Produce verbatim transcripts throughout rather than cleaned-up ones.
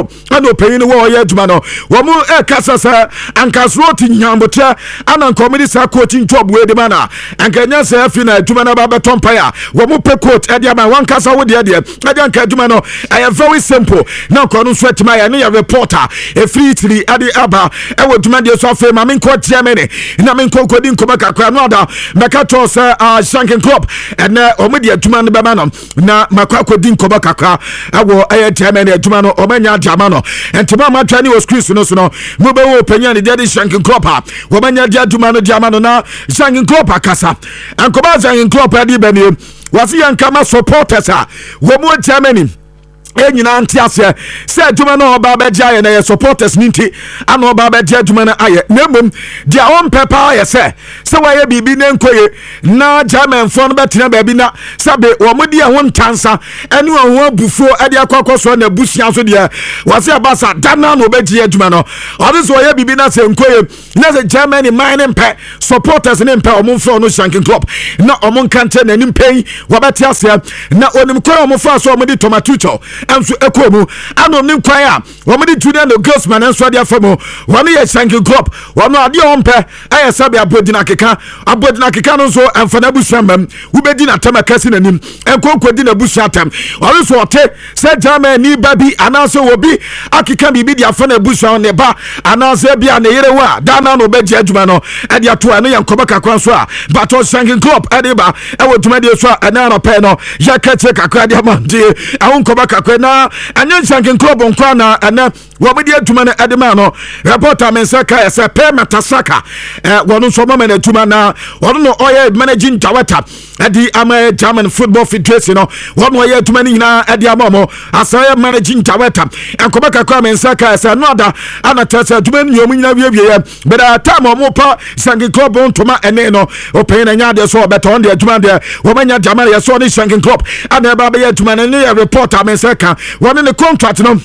Porto ɛna ɔpanyin no wɔ ɔyɛ adwuma no. Wɔn ɛkasa sɛ anka Ancelotti nyambotrɛ ana nka wɔn de saa coaching job wei de ma na anka nyɛ sɛ afi na adwuma no aba bɛtɔ mpae a wɔn pɛ coach ɛde ama wɔn ankasa wo deɛ deɛ ɛde anka adwuma no ɛyɛ very simple na nkɔ no nso atumi ayɛ ne yɛ reporter efiri Italy ɛde aba ɛwɔ dwumadie so. Afei maame nkɔ Germany na me nkɔ nkɔdi nkɔmɔ kakra no ada mɛka kyerɛw sɛ uh, Jurgen Klopp, ɛnɛ wɔn de adwuma no bɛma no na makɔ akɔdi nkɔmɔ kakra ɛwɔ ɛyɛ Germany. Adwuma no wɔn anya ade ama no, ntoma a matwa ne wɔ screen so no so no mobɛwɔ ɔpanyin a ne deɛ de Jurgen Klopp a wɔn anya de adwuma no de ama no. Na Jurgen Klopp akasa. Nkɔmɔ a Jurgen Klopp adi bɛ nie: wɔsi yɛn kama supporters a wɔn wɔ Germany yɛn nyinaa nte aseɛ sɛ adwuma no a ɔba abɛgye ayɛ no yɛ supporters ne nti ana ɔba abɛgye adwuma no ayɛ, na mmom deɛ ɔmpɛ paa yɛ sɛ sɛ wɔayɛ biribi ne nkɔye na Germanfoɔ no bɛtena baabi na sɛbe wɔn de ɛho ntansa ɛne wɔn ho abufuo ɛde akɔ akɔsoɔ na abusua so deɛ wɔsɛ ɛba sa dana na ɔbɛgye adwuma no. Ɔde sɛ ɔyɛ biribi na sɛ nkɔye na sɛ Germany man ne mpɛ, supporters ne mpɛ, ɔmo mfrɛ ɔno Jurgen Klopp na ɔmo nka nkyɛn n'anim pɛn, wɔbɛte aseɛ. Na onim kwan a ɔmo fa so ɔmo de Thomas Tuchel nso ɛkɔɔ mu, ana onim kwan a wɔn de Julian Nagelsmann nso de afa mu. Wɔn yɛ Jurgen Klopp, wɔn adeɛ a wɔmpɛ ɛyɛ sɛbi abɔdina keka abɔdina keka no nso ɛnfa n'abusua mmam. Wobɛdi n'atam ɛkɛse n'anim nkonkodi n'abusua atam. Ɔno nso ɔte sɛ Germany ba bi anaasɛ obi akeka biribi de afa n'abusua, ne ba anaasɛ bi a ne yere ho a, ghana na ɔbɛgye adwuma no ɛde ato. Ɛno yɛ nkɔmɔ kakra nso a batɔ Jurgen Klopp ɛde ba ɛwɔ dwumadie so a ɛnɛ anɔpɛ no yɛka kyerɛ kakra de ama ntie ɛho nkɔmɔ kakra. Na ɛnyɛ Jurgen Klopp nkoa na ɛnɛ wɔn de adwuma no ɛde maa no. Reporter mi nsa ka yɛ sɛ Per Mertesacker ɛ wɔn nso ɔmo no adwuma na wɔn no ɔyɛ managing director ɛde ama German Football Federation no. Wɔn ɔyɛ adwuma no nyinaa ɛde ama wɔn asan yɛ managing director. Nkɔmɔ kakra mi nsa ka yɛ sɛ no ada ana kyerɛ sɛ adwuma no nyɛ wɔn nyinaa wiewie yɛ bɛrɛ time a wɔn pa Jurgen Klopp ntoma ɛne no ɔpanyin na nya adeɛ so ɔbɛtɔ wɔn de adwuma deɛ wɔn anya gyama yɛ so ɔne Jurgen Klopp ana ɛba abɛyɛ adwuma no ne yɛ reporter mi nsa ka wɔn ne contract no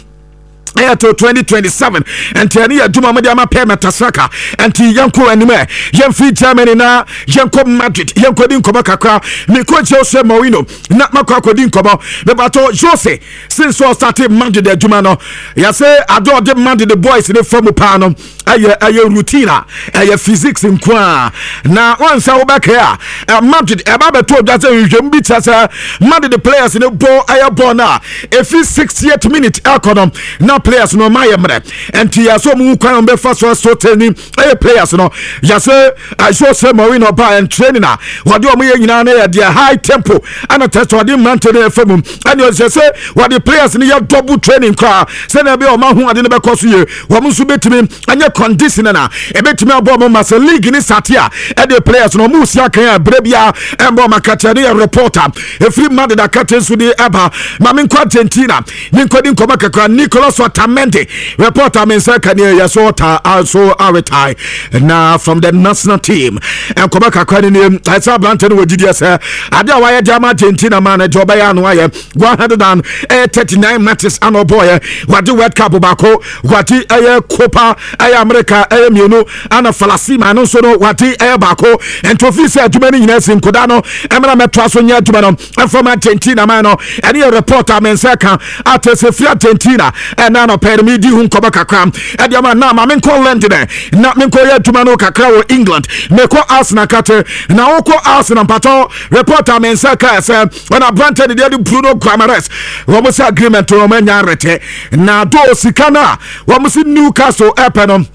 ɛyɛ to twenty twenty-seven. Nti ɛne yɛ adwuma mode ama Per Mertesacker. Nti yɛnkɔ anim ɛ, yɛmfiri Germany na yɛnkɔ Madrid, yɛnkɔdi nkɔmmɔ kakra. Mekɔ Jose Mourinho na makɔ akɔdi nkɔmmɔ. Mebatɔ Jose, since ɔstarte Madrid adwuma no, yɛsɛ ade ɔde Madrid boys ne fa mu paa no ɛyɛ ɛyɛ routine a ɛyɛ physics nko a. Na wansa wobɛkae a, Madrid ɛba bɛto odwa sɛ nhwehwɛmu bi kyerɛ sɛ Madrid players ne bɔ ɛyɛ bɔɔl no a ɛfi sixtieth minute ɛkɔ no na players no ɔma yɛ mmerɛ. Nti yɛsɛ ɔmo kwan ɔmo bɛfa so ɛso training ɛyɛ players no. Yɛsɛ Jose Mourinho ɔba ɛn training a wɔde ɔmo yɛ nyinaa no yɛ deɛ high tempo, ɛna tɛ sɛ ɔde mmerante no ɛfɛ mu, ɛne ɔsɛ sɛ wɔde players no yɛ double training koraa sɛnea ɛbɛyɛ ɔmo aho ade no bɛkɔ so yie, wɔn nso bɛtumi ɛnyɛ condition na ɛbɛtumi abɔ ɔmo ma sɛ league ne sate a ɛde players no ɔmo si akan a berɛ biara ɛmbɔ ɔmo akakyɛ. Ne yɛ reporter ɛfiri Madrid akakyɛ nso de ɛba. Ma menkɔ Argentina, menkɔdi nkɔmmɔ kakra. Nicolas Otamendi, reporter me nsa ka ne yɛ so ɔta so aretire na from the national team. Nkɔmmɔ kakra ne nie: ɛsɛ aberante no wɔ gyidiɛ sɛ ade a wayɛ de ama Argentina ma no deɛ ɔbɛyɛ ano ayɛ one hundred thirty-nine matches ana ɔbɔɔyɛ, wade World Cup baako, wade ɛyɛ Copa ɛyɛ America ɛyɛ mmienu, ana Finalissima no nso no wade ɛyɛ baako. Nti ofii sɛ adwuma no nyinaa si nkoda no ɛmena mɛtoa so nyɛ adwuma no ɛfam Argentina man no. Ɛne yɛ report a me nsa ka ate sɛ firi Argentina ɛna anɔpɛ no medi ho nkɔmmɔ kakra ɛde ama. Na ma menkɔ London na menkɔ yɛ adwuma no kakra wɔ England. Mekɔ Arsenal kate na wokɔ Arsenal mpatɔ report a me nsa ka sɛ ɔna aberantɛ ne deɛ de Bruno Guimaraes, wɔn sɛ agreement no wɔn anya arete na do sika no a wɔn sɛ Newcastle ɛpɛ no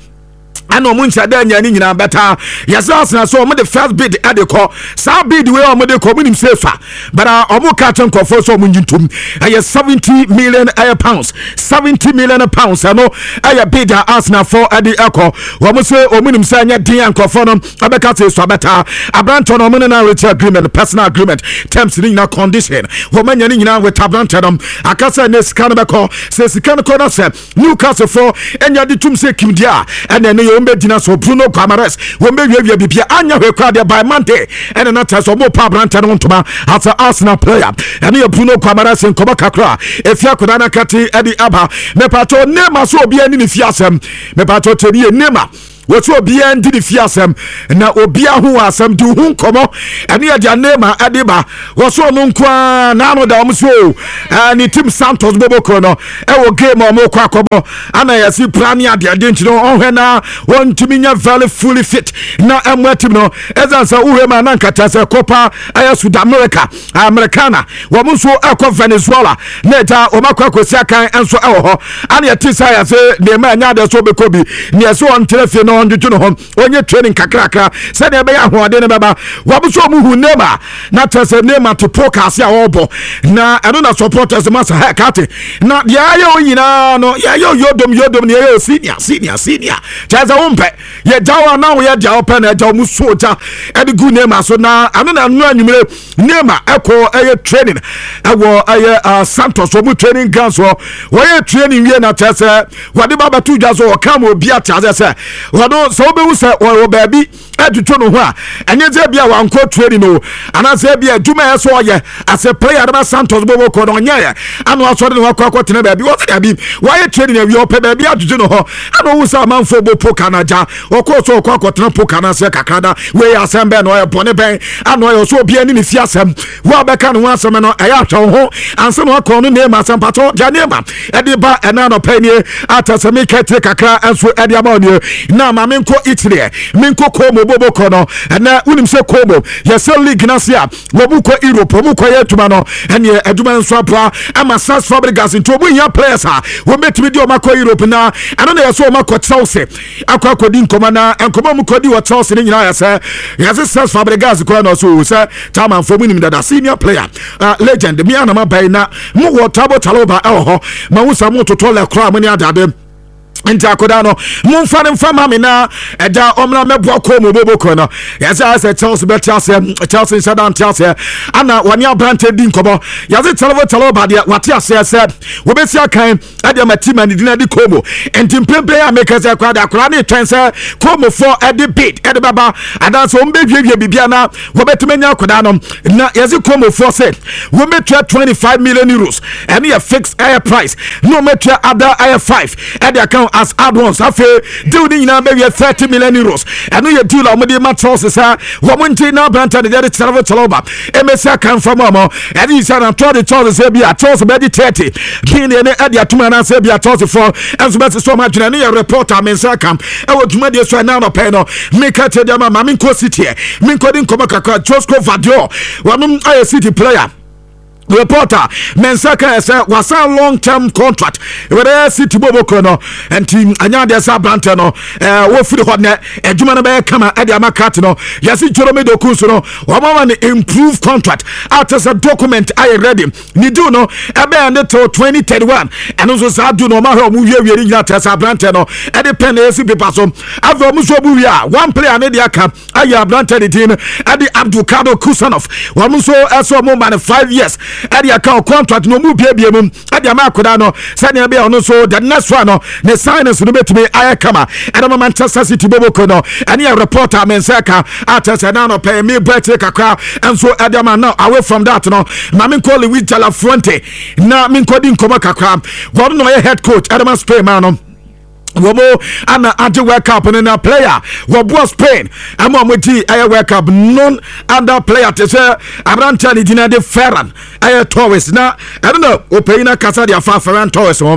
ɛna ɔmo nhyɛ dɛ nya ne nyinaa bɛta. Yɛsɛ Arsenal so ɔmo de first bid ɛde kɔ. Saa bid wei ɔmo de kɔ, ɔmo nim sɛ fa but ɔmo ka kyɛ nkɔfoɔ sɛ ɔmo nyi ntom ɛyɛ seventy million ɛyɛ pounds, seventy million pounds. Ɛno ɛyɛ bid a Arsenal fo ɛde ɛkɔ. Wɔn sɛ ɔmo nim sɛ ɛnyɛ den a nkɔfoɔ no ɛbɛka sɛ esu abɛta aberantɛ no. Ɔmo ne na reach agreement, personal agreement, terms ne nyinaa, condition wɔn anya ne nyinaa with aberantɛ no. Akasa ne sika no bɛkɔ sɛ sika no kɔ na sɛ Newcastle fo ɛnya de tum sɛ kimdi a ɛna ɛne yɛ wɔn bɛgyina so. Bruno Guimaraes wɔn bɛwiawia bibia anya hwɛ kora deɛ by Monday ɛna na kyerɛ sɛ ɔmo pa aberantɛ no ntoma as a Arsenal player. Ɛne yɛ Bruno Guimaraes nkɔmɔ kakra efi akwadaa no akate ɛde aba. Mepatɔ Neymar so obiara ne ne fi asɛm. Mepatɔ tɛni yɛ Neymar Wɔsɛ obiara ndi ne fie asɛm na obiara ho wɔ asɛm di ho nkɔmmɔ. Ɛne yɛ deɛ Neymar ɛde ba. Wɔsɛ ɔno nko ara n'ano da wɔn so o, ne team Santos bɔbɔkɔ no ɛwɔ game a wɔn kɔ akɔbɔ ana yɛsi pra ne adeade, nti no ɔhwɛ na wɔntumi nya very fully fit na ɛmo team no. Ɛsan sɛ wohwɛ mu a, na nkata sɛ Copa ɛyɛ Sud America Americana, wɔn nso ɛkɔ Venezuela na ɛgya wɔn akɔ akɔsi akan nso ɛwɔ hɔ. Ana yɛte sɛ yɛsɛ nneɛma ɛnyɛ adeɛ so ɔbɛkɔ bi nea ɛsɛ ɔntena fie na ɔndwodwo ne ho, ɔnyɛ training kakrakra sɛdeɛ ɛbɛyɛ ahoɔden no bɛba. Wɔn nso ɔmo hu Neymar na kyerɛ sɛ Neymar te po kaase a ɔrebɔ na ɛno na supporters ma sɛ hɛ kate na deɛ ayɛ o nyinaa no, yɛyɛ yodom yodom na yɛyɛ senior senior senior, kyerɛ sɛ wompɛ yɛgya wo anaa woyɛ deɛ wopɛ na ɛgya wo mu so ogya ɛde gu Neymar so. Na ɛno na ɛno anwummere Neymar ɛkɔ ɛyɛ training ɛwɔ ɛyɛ Santos wɔn training ground so. Wɔyɛ training wie na kyerɛ sɛ wɔde ba bɛto dwa so, wɔka ma obi ate ase sɛ wɔno sɛ wobɛhu sɛ wɔwɔ baabi ɛtutu no ho a, ɛnyɛ sɛ bia wankɔ training o, anaasɛ bia adwuma ɛ sɛ ɔyɛ asɛ player de ma Santos bɔbɔ kɔ no ɔnyɛyɛ ana wasɔre ne wakɔ akɔtena baabi. Wɔsɛ dabi, wayɛ training awie, ɔpɛ baabi atutu no hɔ ana ɔwu sɛ amanfoɔ bɔ poka no agya ɔkɔɔ so ɔkɔ akɔtena poka no aseɛ kakra. Da wei asɛm bɛn na ɔyɛ bɔne bɛn ana ɔyɛ ɔsɛ obiara ne ne fi asɛm wo a bɛka ne ho asɛm no, ɛyɛ ahwɛ wo ho ansa na wakɔ no. Neymar asɛm patɔ deɛ Neymar ɛde ba ɛna anɔpɛ nie ata sɛ meka tire kakra nso ɛde ama wo nie. Na ma menkɔ Italy, menkɔ Como bobokɔ no. Ɛnɛ wonim sɛ Como yɛsɛ league no ase a wɔn kɔ Europe, wɔn kɔ yɛ adwuma no, ɛneɛ adwuma nso aboa ama Cesc Fabregas, nti wɔn hia players a wɔn bɛtumi de wɔn akɔ Europe. Na ɛno na yɛsɛ wɔn akɔ Chelsea akɔ akɔdi nkɔmɔ, na nkɔmɔ mu kɔdi wɔ Chelsea ne nyinaa yɛsɛ yɛsɛ Cesc Fabregas kora na ɔso sɛ chairmanfoɔ mu nim dada, senior player, uh, legend mi anam aban na mo wɔ Trevoh Chalobah ɛwɔ hɔ ma wo sa mo totɔ lɛ koraa mo ne adade, nti akoda no momfa no mfa ma me na ɛda ɔmmra mɛboa kɔ mu boboko no. Yɛsɛ ayɛ sɛ Chelsea bɛte aseɛ, Chelsea nhyɛ da nte aseɛ ana wɔne aberante di nkɔmmɔ. Yɛse Trevoh Chalobah deɛ wate aseɛ sɛ wɔbɛsi akan ɛde ama team a ne din ade Como, nti mpempem a meka sɛ koraa de akwaraa ne twɛn sɛ Comofoɔ ɛde bid ɛde bɛba anaasɛ wɔn bɛwiewie biribia na wɔbɛtumi anya akwadaa no. Na yɛse Comofoɔ sɛ wɔbɛtua twenty-five million euros, ɛne yɛ fix ɛyɛ price, na wɔbɛtua ada ɛyɛ five ɛde aka as add-ons. Afei deal ne nyinaa bɛwie thirty million euros. Ɛno yɛ deal a wɔde ma Chelsea sɛ wɔn ngye na aberante ne deɛ de Trevoh Chalobah ɛmɛsi aka nfa mu ama ɛde yi sɛ na de Chelsea sɛ bi a Chelsea bɛgye thirty billion ne ɛde atum anaasɛ bi a Chelsea foɔ ɛnso bɛsɛ sɛ ɔmo adwene. Ne yɛ report a me nsa ka ɛwɔ dwumadie so ɛna anɔpɛ no meka kyerɛ deɛ ma ma menkɔ City ɛ menkɔ di nkɔmmɔ kakra. Josko Gvardiol, wɔnom ayɛ City player, reporter mensa ka sɛ wasan long term contract wɛrɛ City boboko no, nti ɛnyɛ adeɛ sɛ aberantɛ no wɔfiri hɔ nɛ adwuma no bɛyɛ kama ɛde ama krat no. Yɛse Jeremy Doku nso no wɔmama no improve contract a kyɛ sɛ document ayɛ ready, ne deal no ɛbɛyɛ ne till twenty thirty-one. Ɛno nso saa deal no ɔma hwɛ ɔmo wiewie ne nyinaa kyerɛ sɛ aberantɛ no ɛde pɛn na ɛsi paper so. Afei ɔmo nso ɔmo wie a, one player ne deɛ aka ayɛ aberantɛ ne din ɛde Abdulkadir Khusanov. Wɔn nso ɛsɛ ɔmo ma no five years ɛde aka contract na ɔmo biebie mu ɛde ama akwadaa no sɛnea ɛbɛyɛ ɔno nso the next one no ne signings no bɛtumi ayɛ kama ɛde ma Manchester City boboko no. Ɛne yɛ reporter me nsa ka akyɛ sɛ na anɔpɛ mi bɔ akyire kakra nso ɛde ama. Now, away from that no, ma menkɔ Luis de la Fuente na menkɔdi nkɔmmɔ kakra. Wɔn na ɔyɛ head coach ɛde ma Spain ma no, wɔn ana agye World Cup no, na player wɔboa Spain ama wɔn di ɛyɛ World Cup non other player te sɛ aberanteɛ ne gyina de Ferran ɛyɛ Torres. Na ɛno na ɔpanyin akasa de afa Ferran Torres ho.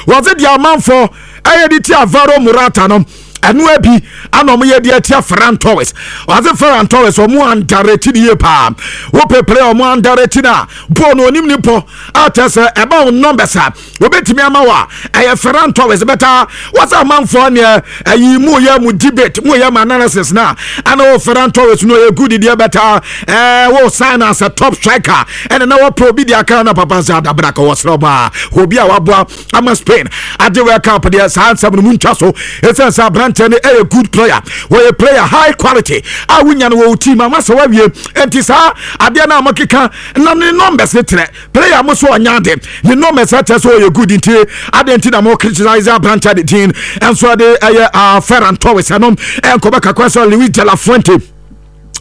Wɔdze deɛ amanfoɔ ɛyɛ de ti Alvaro Morata no, ɛno abi ana ɔmo yɛ de atia Ferran Torres. Ɔdze Ferran Torres ɔmo underrate ne yie paa. Wopɛ player ɔmo underrate no a bɔɔl no onim ne bɔ a kyerɛ sɛ ɛba wo numbers a wɔbɛtumi ama wo a, ɛyɛ Ferran Torres bɛta. Wɔsɛ amanfoɔ neɛ ɛyi mu yɛ mu debate mu yɛ mu analysis na ana wɔ Ferran Torres no ɔyɛ good deɛ bɛta ɛɛ wɔ sign as a top striker ɛna na wɔpɛ obi deɛ aka na papa sɛ adabra ka wɔsrɛ ɔbaa obi a waboa ama Spain agye World Cup deɛ. Saa nsɛm no mu ntwa so ɛsiane sɛ aberanteɛ no ɛyɛ good player, wɔyɛ player high quality a wonya no wɔ wo team ama sɛ woawie. Enti saa adeɛ no a mokeka na ne numbers ne kyerɛ player mo so ɔnya ade ne numbers kyerɛ sɛ ɔyɛ good, nti adeɛ nti na mo criticize aberanteɛ de din ɛnso ɛde ɛyɛ Ferran Torres. Ɛno ɛnkɔbɛ kakra sɛ Luis de la Fuente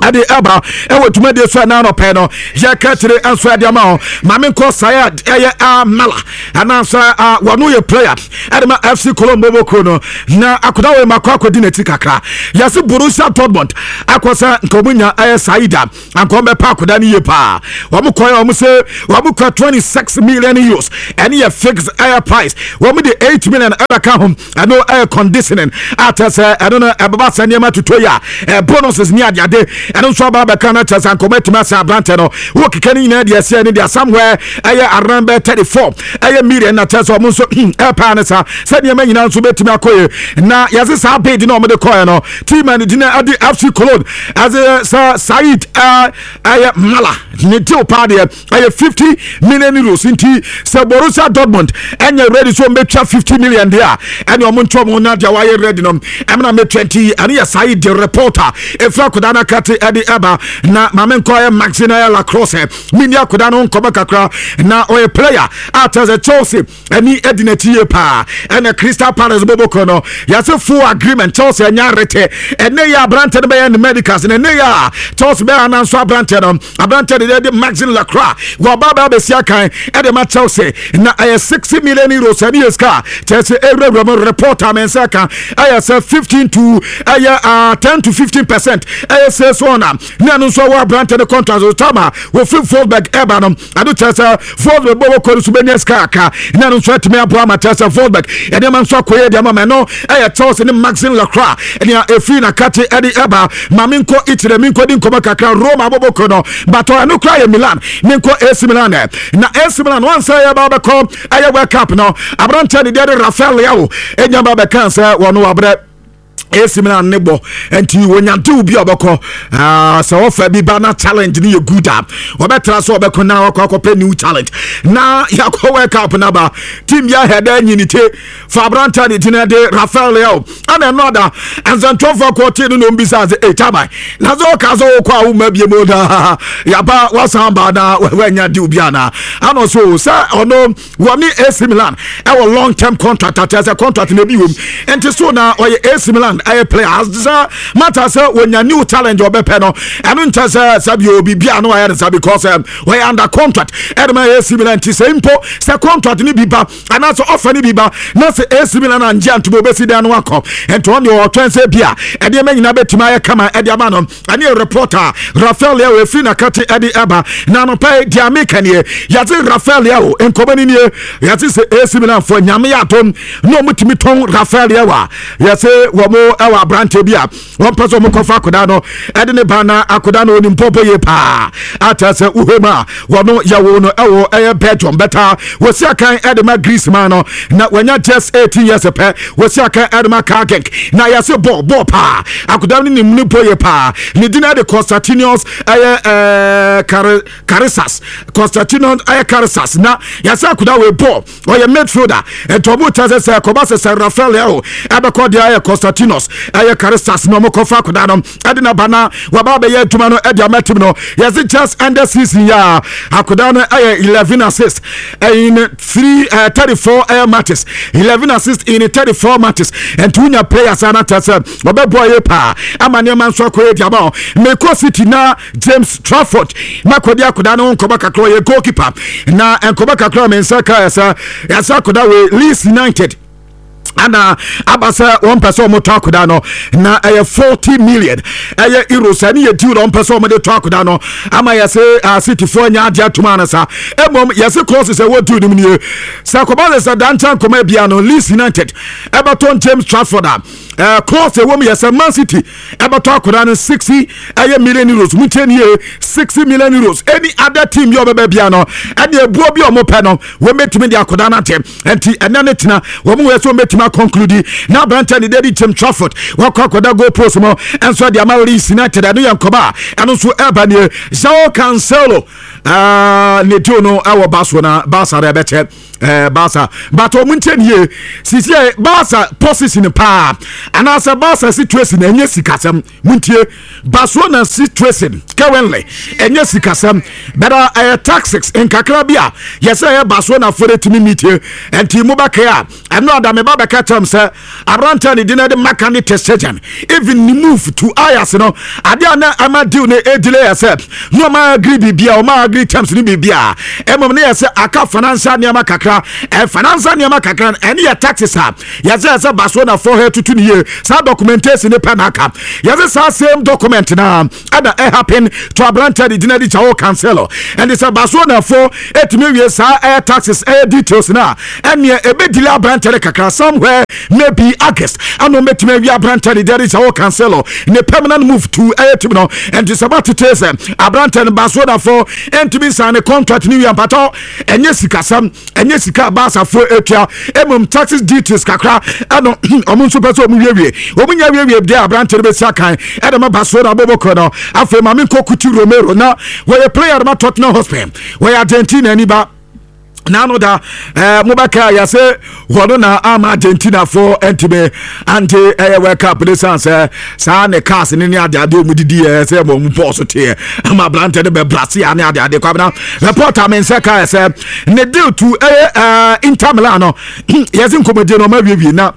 Ɛde ɛba ɛwɔ dwumadie so ɛna anɔpɛ no, yɛka kyerɛ nso ɛde ama hɔ. Maame nkɔ Sayed ɛyɛ Amala anaasɛ wɔno yɛ player ɛde ma F C Cologne boboko no, na akoda wɔ ma akɔ akɔdi n'akyi kakra. Yɛse Borussia Dortmund akɔ sɛ nka ɔmo nya ɛyɛ Saida, anka ɔmo bɛpa akoda no yie paa. Wɔn kɔ, wɔn sɛ wɔn kɔ twenty-six million euros, ɛne yɛ fixed ɛyɛ price. Wɔn de eight million ɛbɛka ho, ɛno ɛyɛ conditioning a kyerɛ sɛ ɛno no ɛbɛba sɛ nneɛma toto yi a ɛ bonuses ne adeade, ɛno nso aba bɛka no kyerɛ sɛ nkɔmɔ atumi asɛ aberantɛ no wɔ keka no nyinaa deɛ ɛsɛ ne deɛ somewhere ɛyɛ around bɛ thirty-four ɛyɛ million, na kyerɛ sɛ ɔmo nso ɛpaa ne sa sɛ nneɛma nyinaa nso bɛtumi akɔ yie. Na yɛse saa bid na ɔmo de kɔɛ no, team a ne din ɛde F C Cologne ɛde sɛ Said ɛyɛ Mala ne deal paa deɛ ɛyɛ fifty million euros. Nti sɛ Borussia Dortmund ɛnyɛ ready so ɔmbɛtwa fifty million deɛ a, ɛne ɔmo ntwa ɔmo na deɛ wayɛ ready no ɛmna mɛ twenty. Ɛne yɛ Said de reporter ɛfiri akoda no akate ɛde ɛba. Na maame nkɔ ɛyɛ Maxi na ɛyɛ Lacrosse mini akoda no nkɔmɔ kakra, na ɔyɛ player a kyerɛ sɛ Chelsea ɛni ɛdi n'akyi yie paa, ɛna Crystal Palace bɔbɔkɔ no yɛsɛ full agreement. Chelsea ɛnya rete ɛnɛ yɛ aberante no bɛyɛ ne medicals, na ɛnɛ yɛ a Chelsea bɛyɛ ananso aberante no, aberante de de Maxi Lacroix wɔba bɛ abɛsi akan ɛde ma Chelsea, na ɛyɛ sixty million euros. Ɛne yɛ sika Chelsea ewurawura mu. Report a mɛnsa ka ɛyɛ sɛ fifteen to ɛyɛ uh, ten to fifteen percent ɛyɛ sales on a ne ɛno nso ɛwɔ aberante no contract so tama wɔfiri Wolfsburg ɛba no. Ado kyerɛ sɛ Wolfsburg bɔ wɔkɔ no so bɛnya sika aka, na ɛno nso atumi aboa ama kyerɛ sɛ Wolfsburg ɛnneɛma nso akɔyɛ deɛ ama ma. Ɛno ɛyɛ Chelsea ne Maxi Lacroix ɛnea ɛfiri nakate ɛde ɛba. Ma menkɔ Italy, menkɔ di nkɔmmɔ kakra. Roma abɔbɔkɔ no batɔ ɛno kora yɛ Milan. Menkɔ A C Milan ɛ, na A C Milan wansa yɛ ba bɛkɔ ɛyɛ World Cup no, aberanteɛ ne deɛ de Rafael Leao ɛnya ba bɛka sɛ wɔno wabrɛ A C Milan ne bɔ, nti wɔnya deal bi a ɔbɛkɔ. Sɛ wɔfa bi ba na challenge no yɛ good a, wɔbɛtra so ɔbɛkɔ na wakɔ akɔpɛ new challenge. Na yɛakɔ World Cup no ba, team bi ahɛ dɛ nyini te fa aberanta ne gyina de Rafael Leao, ana ɛno ada nsɛntwerɛfoɔ kɔɔtee no na ɔmbisa sɛ, "Ei taban, na sɛ ɔka sɛ wokɔ a woma bie mu na yɛaba wasan ba na wanya deal bi anaa?" Ana ɔso sɛ ɔno wɔne A C Milan ɛwɔ long term contract, akyerɛ sɛ contract na ebi wɔ mu, nti so na ɔyɛ A C Milan ɛyɛ player sɛ mata sɛ wɔnya new challenge ɔbɛpɛ no. Ɛno nkyɛ sɛ sɛbi obi bia no ayɛ ne sa because wɔyɛ under contract ɛde ma A C Milan, nti sɛ mpo sɛ contract no bi ba anaasɛ ɔfa no bi ba na sɛ A C Milan angye antoma, obɛsi dan no akɔ. Nti ɔne ɔtwɛn sɛ bi a ɛdeɛma nyinaa bɛtumi ayɛ kama ɛde ama no. Ɛne reporter Rafael Leao ɛfiri nakate ɛde ɛba. Na anɔpɛ deɛ ameka nie, yɛte Rafael Leao nkɔmɔ no nie, yɛte sɛ A C Milan foɔ, Nyame yɛ adom na ɔmutumi tɔn Rafael Leao a, yɛse wɔn ɛwɔ aberante bi a wɔmpɛ sɛ ɔmokɔfa akoda no ɛde ne ba, na akoda no onim pɔpɔ yie paa akyerɛ sɛ wohwɛ mu a wɔno yɛwo no ɛwɔ ɛyɛ Belgium bɛta wɔsi akan ɛde ma Greece man no, na wɔnya just eighteen years pɛ, wɔsi akan ɛde ma Genk, na yɛse bɔɔl bɔɔl paa. Akoda no nim ne bɔ yie paa. Ne din ɛde Constantinos ɛyɛ ɛɛ Kare Karisas, Constantinos ɛyɛ Karisas, na yɛsɛ akoda wei bɔɔl, ɔyɛ midfielder. Nti ɔmo kyerɛ sɛ sɛ kɔba sɛ sɛ Rafael Leao ɛbɛkɔ deɛ ɛyɛ Constantinos ɛyɛ Karisas na ɔmo kɔfa akoda no ɛde na ba na waba abɛyɛ adwuma no ɛde ama team no. Yɛsɛ just end season yɛ a, akoda no ɛyɛ eleven assist in three uh, thirty four ɛyɛ matches, eleven assist in thirty four matches. Nti wonya players a na kyerɛ sɛ ɔbɛbɔ yɛ paa ama nneɛma nso akɔ yɛ di ama. Mekɔ City na James Trafford makɔdi akoda no nkɔmɔ kakra. Ɔyɛ goalkeeper, na nkɔmɔ kakra me nsa ka yɛ sɛ yɛsɛ akoda wei, Leeds United ana aba sɛ wɔn pɛ sɛ wɔn tɔ akoda no, na ɛyɛ forty million ɛyɛ euros. Ɛne yɛ deal wɔn pɛ sɛ wɔn de tɔ akoda no ama. Yɛsɛ Cityfoɔ nya adeɛ atum ana sa emom yɛsɛ clauses ɛwɔ deal no mu nie: sɛ akɔba sɛ sɛ dankyɛn nkɔmɔ bia no, Leeds United ɛbɛtɔ James Trafford a, ɛɛ clause ɛwɔ mu yɛ sɛ Man City ɛbɛtɔ akoda no sixty ɛyɛ million euros. Mu nkyɛn nie, sixty million euros. Any other team bi a ɔbɛbɛ bia no, ɛne ebuo bi a wɔn pɛ no, wɔn bɛtumi de akoda no ate. Nti ɛnɛ ne tena wɔn wɔ sɛ wɔn bɛtumi aconclude na aberante ne dedi James Trafford wakɔ akɔda goal post mu ɛnso de ama Leeds United. Ɛno yɛ nkɔmɔ a ɛno nso ɛba nie. Joao Cancelo. uh, ne deal no ɛwɔ Barcelona, Barca no ɛbɛkyɛ ɛɛ Barca, but ɔmo nkyɛn yie sisi ɛ Barca position paa anaasɛ Barca situation ɛnyɛ sikasɛm. Muntie, Barcelona situation currently ɛnyɛ sikasɛm, bɛda ɛyɛ tactics nkakra bi a yɛsɛ ɛyɛ Barcelona fo de tumi meetie. Ɛnti mo bɛkɛ a ɛno adame ba bɛka kyerɛm sɛ aberante ne din de Marc-Andre ter Stegen, even ne move to Ajax no, adeɛ a na ama deal no ɛdelay yɛ sɛ na ɔma agree biribia, ɔma agree terms no biribia, ɛmom ne yɛ sɛ aka financial nneɛma kakra. Ɛ financial nneɛma kakra no, ɛne yɛ taxes a yɛsɛ yɛ sɛ Barcelona fo hɛ tutu ne yie, saa documentation ne pɛ na aka. Yɛsɛ saa same document na ɛna ɛhappen to aberante de gyina de Joao Cancelo. Ɛnde sɛ Barcelona fo ɛtumi wie saa ɛyɛ taxes, ɛyɛ details na ɛneɛ ɛbɛdelay aberante no kakra, somewhere maybe August ana ɔmɛtumi awie aberante de de Joao Cancelo ne permanent move to ɛyɛ team no. Ɛnti sɛ batete sɛ aberante no Barcelona fo ɛntumi nsan ne contract ne wie mpatɔ, ɛnyɛ sikasɛm, ɛnyɛ sika a Barcafoɔ atua, mmom taxes details kakra ɛno ɔmo nso pɛ sɛ ɔmo wiewie. Ɔmo nya wiewie deɛ, aberante no bɛsi akan ɛde ma Barcelona bɔbɔkɔ no. Afei maame nkɔ Cuti Romero na wɔyɛ player ma Tottenham Hotspur, wɔyɛ Argentina ani ba nano da ɛɛ mobɛka yɛsɛ wɔno na ama Argentina fo ntumi ante ɛyɛ World Cup ne san sɛ saa ne cars ne ne adeade ɔmu didi yɛ sɛ ma ɔmu pɔɔ so teɛ ama aberante no bɛbrase a ne adeade. Kwabena, reporter me nsɛ ka sɛ ne deal to ɛyɛ ɛɛ Inter Milan no, yɛsɛ nkɔmmɔdie no ɔma wiewie na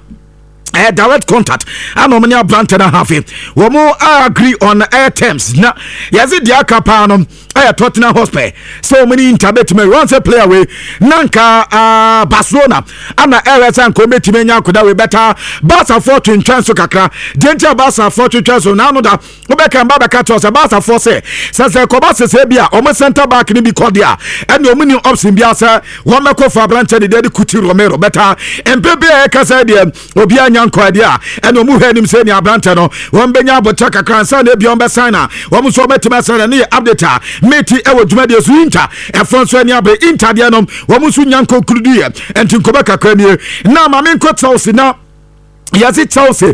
uh, direct contact ana ɔmo ne aberante no have, wɔn agree on air terms na yɛdze deɛ aka paa no ɛyɛ Tottenham Hotspur sɛ wɔn ne Inter bɛtumi wɔn sɛ player wei na nka uh, Barcelona ana ɛrɛ sɛ nka wɔn anya akoda wei bɛta Barcafoɔ twentwɛn so kakra. Deɛ nti a Barcafoɔ twentwɛn so n'ano da wobɛka mba bɛka kyerɛ sɛ Barcafoɔ sɛ sɛ sɛ kɔba sɛsɛ bi a ɔmo center back no bi kɔ deɛ a, ɛne ɔmo ni option bi asɛ wɔn bɛkɔ fa aberante ne deɛ de Cuti Romero bɛta mpɛ bi a ɛka sɛ deɛ obiara nya nkɔ deɛ a, ɛne ɔmo hwɛ anim sɛ ne aberante no wɔn bɛnya abɔkyɛ kakra nsa na ebi wɔn bɛsan na wɔn nso wɔbɛtumi asan na ne yɛ update a meti ɛwɔ dwumadie so. Inter ɛfɔ nso ani abere Inter deɛ no, wɔn nso nya nkɔnkuru yɛ nti nkɔmɔ kakra nie na maame nkɔ Chelsea na yɛse Chelsea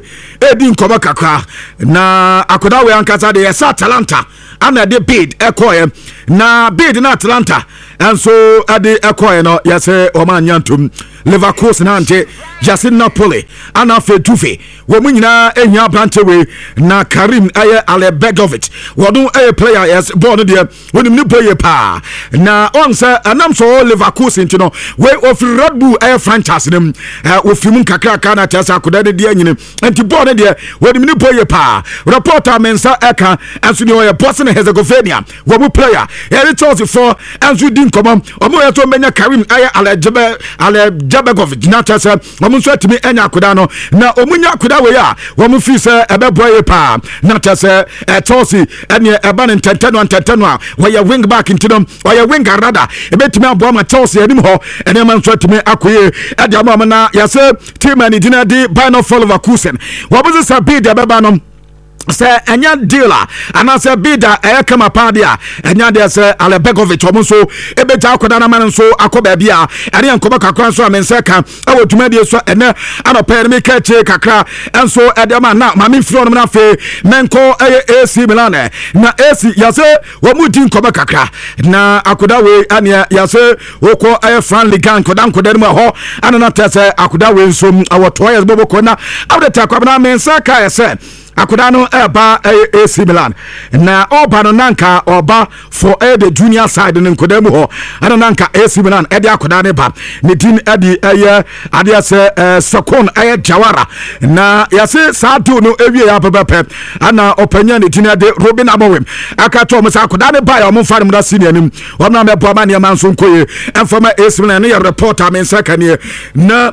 edi nkɔmɔ kakra na akwadaa wei ankasa de yɛsɛ Atalanta ana ɛde bid ɛkɔɛ na bid na Atalanta nso ɛde ɛkɔɛ no, yɛsɛ wɔn anya ntom. Leverkusen ante, yɛsɛ Napoli ana afei Juve, wɔn mu nyinaa ehia aberante wei na Karim ɛyɛ Alajbegovic. Wɔn ɛyɛ player, yɛsɛ bɔɔl no deɛ wɔnim ne bɔ yie paa na ɔn sɛ ɛnam so Leverkusen nti no wei ofiri Red Bull ɛyɛ franchise no mu, ɛ ofiri mu nkakraka na kyerɛ sɛ akwadaa no deɛ nyini nti bɔɔl no deɛ wɔnim ne bɔ yie paa. Reporter me nsa ɛka ɛnso deɛ ɔyɛ Bosnia Herzegovina wɔn mu player yɛde Chelsea fo ɛnso di nkɔmɔ, wɔn yɛ so mbɛnya Karim ɛyɛ Alajebe Alajbegovic na kyerɛ sɛ wɔn nso atumi anya akwadaa no na wɔn nya akwadaa wei a wɔn fi sɛ ɛbɛboa yie paa na kyerɛ sɛ ɛ Chelsea ɛneɛ ɛba ne ntɛntɛn no ntɛntɛn no a wɔyɛ wing back nti no ɔyɛ wing arada ebɛtumi aboa ma Chelsea anim hɔ ɛnneɛma nso atumi akɔ yie ɛde ama wɔn. Na yɛsɛ team a ne din de Bayer Leverkusen, wɔn sɛ sɛ bid ɛbɛba no sɛ ɛnyɛ deal a anaasɛ bid a ɛyɛ kama paa deɛ a, ɛnyɛ deɛ sɛ Alajbegovic ɔmo nso ɛbɛgya akɔda no ama no nso akɔ baabi a ɛne yɛ nkɔmɔ kakra nso a me nsa ka ɛwɔ dwumadie so ɛnɛ anɔpɛ no meka akyire kakra ɛnso ɛde ama na maame mfiri ɔnom no. Afei mɛnkɔ ɛyɛ A C Milan na A C yɛsɛ wɔn mu di nkɔmɔ kakra na akoda wei ɛneɛ yɛsɛ wokɔ ɛyɛ Fran Liga nkɔda nkɔda no mu ɛhɔ ɛna na tɛ sɛ akoda wei nso ɛwɔ toa yɛ bɔbɔkɔ na awode tɛ akwabena me nsa ka yɛ sɛ akoda no ɛba ɛyɛ A C Milan na ɔba no nanka ɔba for ɛyɛ the junior side no nkɔda mu hɔ ɛna nanka A C Milan ɛde akoda ne ba ne din ɛde ɛyɛ adeɛ sɛ ɛɛ Sekon ɛyɛ Jawara na yɛse saa deal no ewie yɛ apɛpɛpɛ ɛna ɔpanyin ne din ɛde Ruben Amorim aka kyerɛ ɔmo sɛ akoda ne ba yɛ ɔmo nfa ne mu na senior anim wɔn na mɛboa ma nneɛma nso nkɔ yie ɛnfama A C Milan ne yɛ report a me nsa ka nie. Na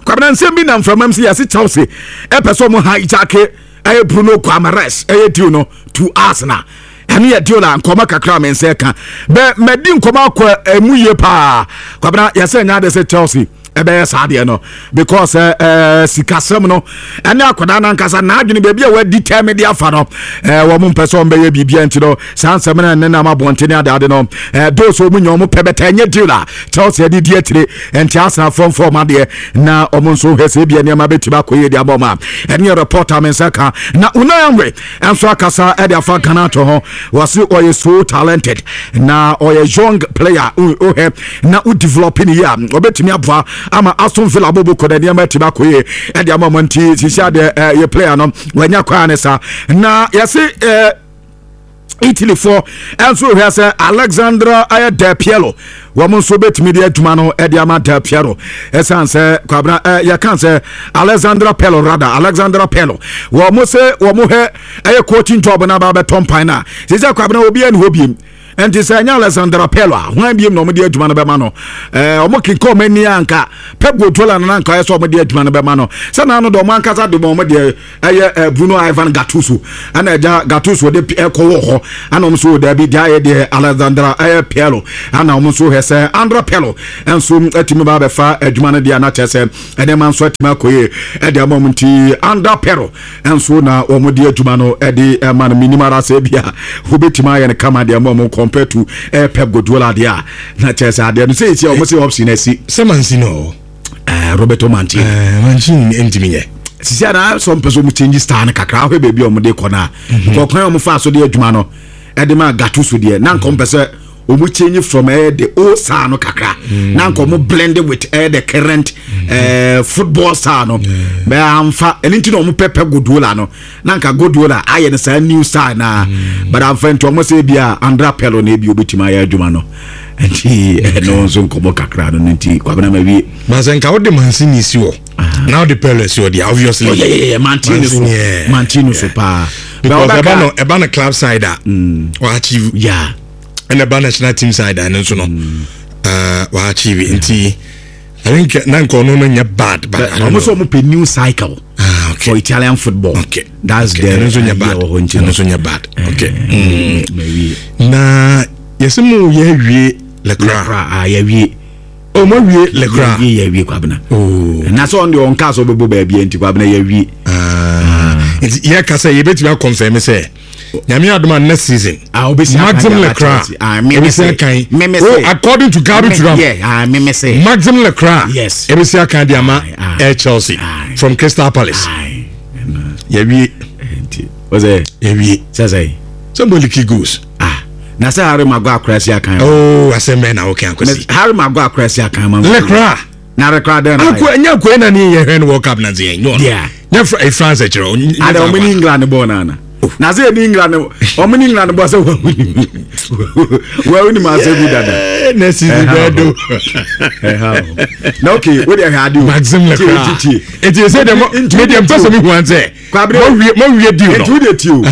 Kwabena, nsɛm bi nam mframa mu sɛ yɛse Chelsea ɛpɛ sɛ ɔmo hijack ɛyɛ Bruno Guimaraes ɛyɛ deal no to Arsenal. Ɛno yɛ deal a nkɔmɔ kakra me nsa ka bɛ mɛdi nkɔmɔ akɔ ɛmu yie paa. Kwabena, yɛsɛ nyɛ ade sɛ Chelsea Ɛbɛyɛ saa deɛ no because ɛɛ ɛɛ sikasɛm no ɛne akwadaa nankasa n'adwene baabi a wadi tɛm de afa no, ɛɛ wɔn mpɛ sɛ wɔn bɛyɛ biribi. Nti no saa nsɛm no ne nam abɔnten ne adeade no, ɛɛ those wɔn nya wɔn pɛ bɛtɛ ɛnyɛ deal a Chelsea de di akyire. Nti Arsenal fɔmfɔm adeɛ na wɔn nso hwɛ sɛ ebia nneɛma bɛtumi akɔ yie de ama wɔn a ɛne yɛ report a me nsa ka. Na Unai Emery nso akasa ɛde afa Garnacho ho. Wɔsi ɔyɛ so talented na ɔyɛ young player. Wohɛ na wo develop ne yie a, ɔbɛtumi aboa ama Aston Villa bobo kɔ na nneɛma atumi akɔ yie ɛde ama ɔmo. Nti sisi adeɛ ɛyɛ player no wɔanya kwan ne sa na yɛsi ɛɛ Italyfoɔ ɛnso hwɛ sɛ Alexandra ɛyɛ Del Piero, wɔn nso bɛtumi de adwuma no ɛde ama Del Piero, ɛsiane sɛ Kwabena ɛ yɛka sɛ Alexandra Pirlo, rather Alexandra Pirlo, wɔn mo sɛ wɔn hwɛ ɛyɛ coaching job na aba abɛtɔ mpan na sisi Kwabena obi ɛni hɔ biem. Nti sɛ ɛnyɛ Alexandra Pirlo a, hwan biem na wɔn de adwuma no bɛma no? ɛɛ wɔn kenka wɔn ani anka Pep Guardiola no nanka ɛyɛ sɛ wɔn de adwuma no bɛma no sɛ n'ano de wɔn ankasa de wɔn deɛ ɛyɛ ɛ Bruno Ivan Gattuso, ɛna ɛgya Gattuso de ɛkɔ wɔ hɔ, ɛna wɔn nso dɛbi deɛ ayɛ deɛ Alexandra ɛyɛ Pirlo, ɛna wɔn nso hwɛ sɛ Andrea Pirlo nso ɛtumi ba abɛfa adwuma no deɛ, anakyɛ sɛ ɛnneɛma nso atumi akɔ yie ɛde ama wɔn. Nti Andrea Pirlo nso na wɔn de adwuma no ɛde ɛma no. Minim ara sɛ bi a wobɛtumi ayɛ no kama deɛ ama wɔn compared to ɛyɛ Pep Guardiola deɛ a, na kyerɛ sɛ adeɛ no sɛ esi a wɔn sɛ option asi. Sɛ Mancini ɔ ɛɛ Roberto Mancini. ɛɛ Mancini ntumi nyɛ. Sisi a na sɛ ɔmpɛ sɛ ɔmo change style no kakra, ahwɛ baabi a ɔmo de kɔ no a, kɔkɔn a ɔmo fa so de adwuma no ɛde ma Gattuso deɛ, na nka ɔmpɛ sɛ ɔmo change from ɛyɛ the old style no kakra na nka ɔmo blend with ɛyɛ the current ɛɛ football style no bɛɛ amfa. Ɛno nti na ɔmo pɛ pɛ Guardiola no, na nka Guardiola ayɛ no saa new style na but amfa. Nti ɔmo sɛ ebi a Andrea Pirlo na ebi obetumi ayɛ adwuma no. Nti ɛno nso nkɔmɔ kakra no no Nti Kwabena, ma wie. But sɛ nka wode Mancini si hɔ na wode Pirlo si hɔ deɛ, obviously Oh, yeah, yeah, yeah. Mancini so. Yeah. Mancini so paa. Because ɛba no ɛba no club side a, wa achieve. Yeah. Ɛna ɛba national team side a, ɛno nso no uh, wa achieve. Nti I think na nka ɔno no nyɛ bad, but I don't Ɔmo sɛ know. ɔmo pɛ new cycle Ah, okay. for Italian football. Okay. That's okay. the Ɛno nso nyɛ idea bad. wɔ hɔ nti Ɛno no. nso nyɛ bad. Okay. Mm. Ma wie. Na yɛsɛ mu yɛ awie Lecra. Lecra a yɛwie. O mo awie Lecra. Yɛwie, yɛwie, Kwabena. Oh. Na sɛ ɔno deɛ ɔnka sɛ ɔbɛbɔ baabi a, nti Kwabena, yɛwie. Ah. Nti yɛka sɛ yɛbɛtumi akɔnfɛm sɛ Nyame adom a, next season Ah, obɛsi akan Maxim de aba Lecra Chelsea. Ah, me me ebɛsi se. akan. Me me Oh, se. according to Gabi Me- Turam, Yeah, ah, me me se. Maxim Lecra Yes. ebɛsi akan de ama Aye, aye. Air Chelsea Aye. from Crystal Palace. Aye. Yɛwie. Nti wɔsɛ Yɛwie. sɛ sɛ sɛ mbɔliki goals. Ah, na sɛ Harry Maguire akora si akan. Oh, asɛm bɛn na woka, Akwasi? Harry Maguire akora si akan ma. Lecra. Na Lecra dɛn na? Akɔ ɛnyɛ akɔ ɛna ne yɛhwɛ no World Cup na nse yɛn nyɛ ɔno. Yeah. Nyɛ Fra- eh, France kyerɛ o, nyɛ Ada saa ɔmo ne kwa. England bɔɔ nana. Na sɛ ɛne England, ɔmo ne England bɔ sɛ wɔn nim asɛ bi dada. Eh, next season bɛɛ do. Ɛha o. Na okay, wo deɛ hwɛ ade o. Maxim Lecra. Tie, tie. Eti sɛ deɛ mo Nti- me deɛ mpɛ sɛ mi hu an sɛ Kwabere- mo wie mo wie deal Nti no. wo deɛ tie o.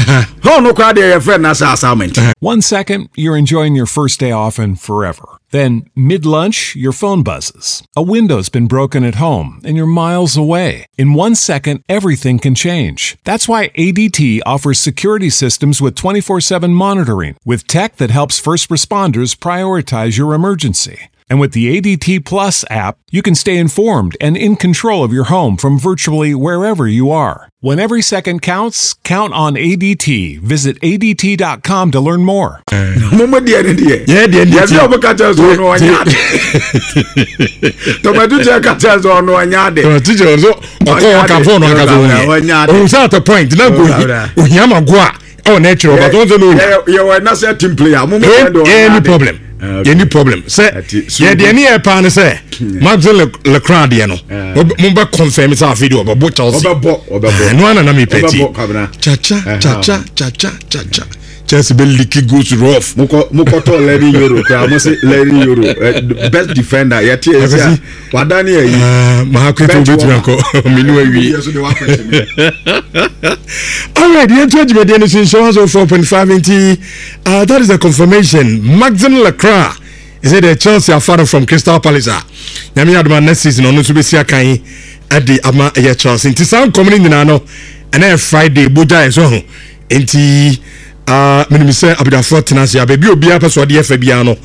Hɔn no koraa deɛ yɛfrɛ no asa assignment. One second, you're enjoying your first day off and forever. Then, mid lunch, your phone buzzes. A window's been broken at home and you're miles away. In one second, everything can change. That's why A D T offers security systems with twenty-four seven monitoring, with tech that helps first responders prioritize your emergency. And with the A D T Plus app, you can stay informed and in control of your home from virtually wherever you are. When every second counts, count on A D T. Visit A D T dot com to learn more. Mo mo deɛ ne deɛ. Yɛ deɛ ne Yɛsɛ tie. ɔmo ka kyerɛ sɛ ɔno ɔnyɛ ade. Tɔmɛtu kyerɛ ka kyerɛ sɛ ɔno ɔnyɛ ade. Tɔmɔ teacher nso ɔkɔ Ɔnyɛ ɔka ade. fɔɔnu aka so Ɔnyɛ ade. ohun sɛ at a point na nko Ɔnyɛ ohia ma go a ɛwɔ n'akyerɛ ɔba tó ń sɛ n'ohia. Yɛ yɛ wɔ national team player. Mo mo deɛ de ɔnyɛ Yɛ ni ade. problem. Ah, okay. Yɛ ni problem sɛ Ati, so yɛ deɛ ne yɛ paa ne sɛ Maxim Lecra deɛ no mo bɛ confirm sɛ afei deɛ ɔbɛbɔ Chelsea. Ɔbɛbɔ, ɔbɛbɔ. Ɛno ana na mi pɛ ti. Ɔbɛbɔ, Kwabena. Chacha Ɛha. chacha chacha chacha, Chelsea bɛ leaky goals rough. Mokɔ mokɔtɔ Leny Yoro koraa, mo se Leny Yoro eh, best defender yɛte yɛ si a wadane ayi. Maa kwetu Bench wobɛtumi warmer. akɔ menu awie. Yɛ so de wakɔhyɛ me. Alright, yɛnto adwumadeɛ no so nhyɛ one oh four point five. Nti uh, that is the confirmation. Maxim Lecra is it the Chelsea afa no from Crystal Palace a, Nyame adoma, next season ɔno nso bɛsi akan ɛde ama ɛyɛ Chelsea. Nti saa nkɔm no nyinaa no, ɛnɛ yɛ Friday bogya yɛ so ho. Nti uh, menim sɛ abudafoɔ tena ase a baabi a obiara pɛ sɛ ɔde yɛ fɛ biara no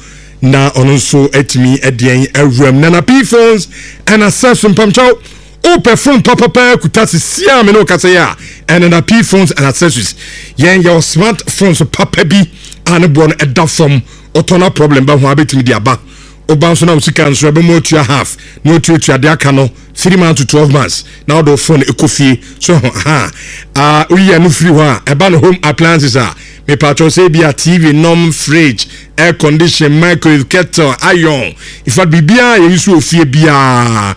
Na ɔno nso atumi adeɛn awuram. Nana P Phones and Accessories, mpamkyɛw, wopɛ phone papapa kuta sisi a me ne wokasa yi a, ɛnana P Phones and Accessories, yɛn yɛwɔ smart phones papa bi a ne boɔ no ɛda fam. Ɔtɔ na problem ba ho a, bɛtumi de aba. Woba nso na wo sika nso ɛbɛma otua half na otuatua de aka no three months to twelve months na wode wo phone ɛkɔ fie so ho ha a. Woyi ɛno firi hɔ a, ɛba no home appliances a, mepatwɛ sɛ bi a T V nom, fridge, air condition, microwave, kettle, iron, in fact biribiara yɛyi so wɔ fie biara,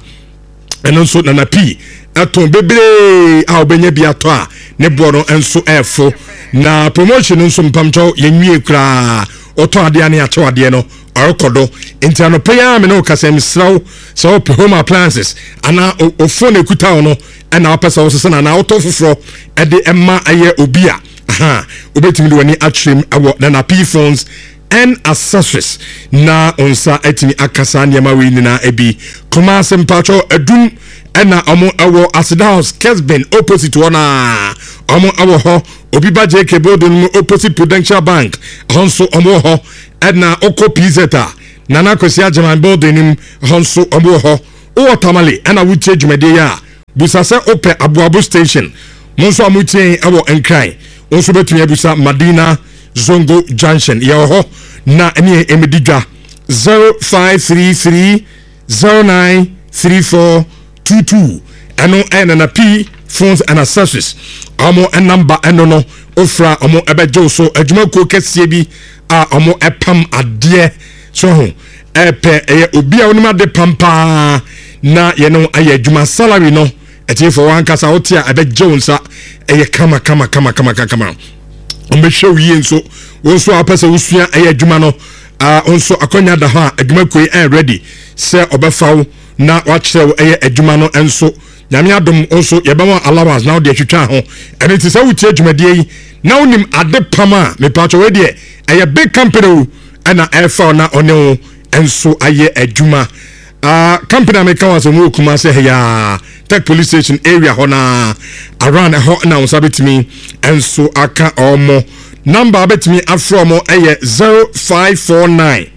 ɛno nso Nana P ɛtɔn bebree a wobɛnya bi atɔ a ne boɔ no nso ɛɛfo. Na promotion no nso, mpamkyɛw, yɛnwie koraa. Ɔtɔn adeɛ ne akyɛw adeɛ no ɔrekɔ do. Nti anɔpɛ yi a me ne wo kasa, mesrɛ wo sɛ wopɛ home appliances anaa o phone ekuta wo no ɛna wopɛ sɛ wosesa no anaa wotɔ foforɔ ɛde ɛma ɛyɛ obi a, aha wobɛtumi de w'ani akyerɛ mu ɛwɔ Nana P Phones and Accessories na nsa atumi aka saa nneɛma wei nyinaa bi. Kumase, mpatwɔ, Adum ɛna ɔmo ɛwɔ Aseda House, Kesben opposite hɔ naa ɔmo ɛwɔ hɔ. Obi ba J K building mu opposite Prudential Bank, ɛhɔ nso ɔmo wɔ hɔ. Ɛna ɔkɔ P Z a, Nana Kwesi Agyeman building mu, ɛhɔ nso ɔmo wɔ hɔ. Wowɔ Tamale ɛna wotie dwumadie yi a, busa sɛ wopɛ Aboabo Station. Mo nso a motie ɛwɔ Nkran, wo nso bɛtumi abusa Madina Zongo Junction, yɛwɔ hɔ na ɛne ɛmɛdi dwa. zero five three three zero nine three four two two, ɛno ɛyɛ Nana P Phones and Accessories ɔmo number. Ɛno no ofura ɔmo ɛbɛgye wo so. Adwumakuo kɛseɛ bi a ɔmo ɛpam adeɛ so ho ɛpɛ ɛyɛ obi a onim ade pam paa na yɛne ayɛ adwuma. Salary no, ɛtiefo, wankasa wote a, ɛbɛgye wo nsa. Ɛyɛ kama kama kama kama kama. Ɔmbɛhwɛ wo yie nso. Wo nso a wopɛ sɛ wosua ɛyɛ adwuma no uh, nso akɔnya da hɔ a, adwumakuo yi ɛyɛ ready sɛ ɔbɛfa wo na wakyerɛ wo ɛyɛ adwuma no nso. Nyame adom nso, yɛbɛma allowance na wode atwitwa ho. Ɛno nti sɛ wotie dwumadie yi na wonim ade pam a, mepatwɛ, wei deɛ ɛyɛ big company o, ɛna ɛfa wo na ɔne wo nso ayɛ adwuma. uh, company a meka wɔ asɛm wɔ Kumase ha, Tech Police Station area hɔ na around ɛhɔ na wo nsa bɛtumi nso aka ɔmo. Number a bɛtumi afrɛ ɔmo ɛyɛ zero five four nine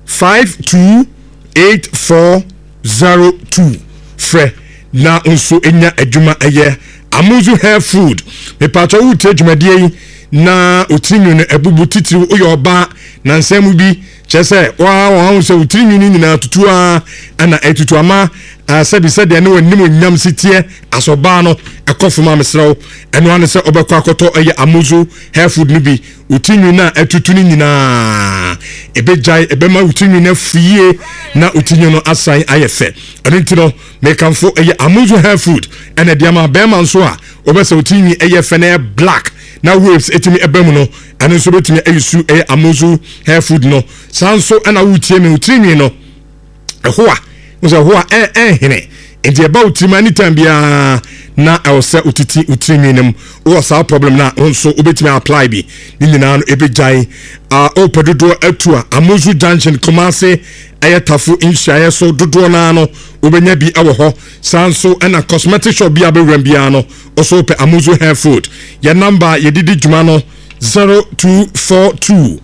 five two eight four zero two. Frɛ na nso nya adwuma. Ɛyɛ Amuzu Hair Food. Mepatwa, wotie dwumadie yi na otiri nwi no abubu, titiriw woyɛ ɔbaa na nsɛm mu bi kyerɛ sɛ waa wɔn ahu sɛ otiri nwi no nyinaa tutu a ɛna ɛtutu ama sɛbi sɛdeɛ ne wɔnim onyam si teɛ asɔbaa no ɛkɔ fam a, mesrɛw, ɛno ano sɛ ɔbɛkɔ akɔtɔ ɛyɛ Amuzu Hair Food no bi. Otiri nwi no a ɛtutu no nyinaa ɛbɛgyae, ɛbɛma otiri nwi no afu yie na otiri nwi no asan ayɛ fɛ. Ɛno nti no, mekamfo ɛyɛ Amuzu Hair Food. Ɛna ɛde ama bɛrima nso a wɔbɛsɛ otiri nwi ɛyɛ fɛ na ɛyɛ black na waves ɛtumi ɛbɛ mu no, ɛno nso bɛtumi ayi su ɛyɛ Amuzu Hair Food no. Saa nso ɛna wotie mi, otiri nwi no ɛho a wosɛ ɛho a ɛ ɛnhene nti ɛba wo tirim anytime biara na ɛwɔ sɛ wotiti wo tirinwi no mu, wowɔ saa problem no a, wo nso wobɛtumi apply bi, ne nyinaa no ɛbɛgyae. uh, wopɛ dodoɔ atu a, Amuzu Junction, Kumase, ɛyɛ Tafo nhyiaeɛ so, dodoɔ naa no wobɛnya bi ɛwɔ hɔ. Saa nso ɛna cosmetic shop bi a bɛwuram biara no ɔso wopɛ Amuzu Hair Food. Yɛ number yɛdedi dwuma no zero two four two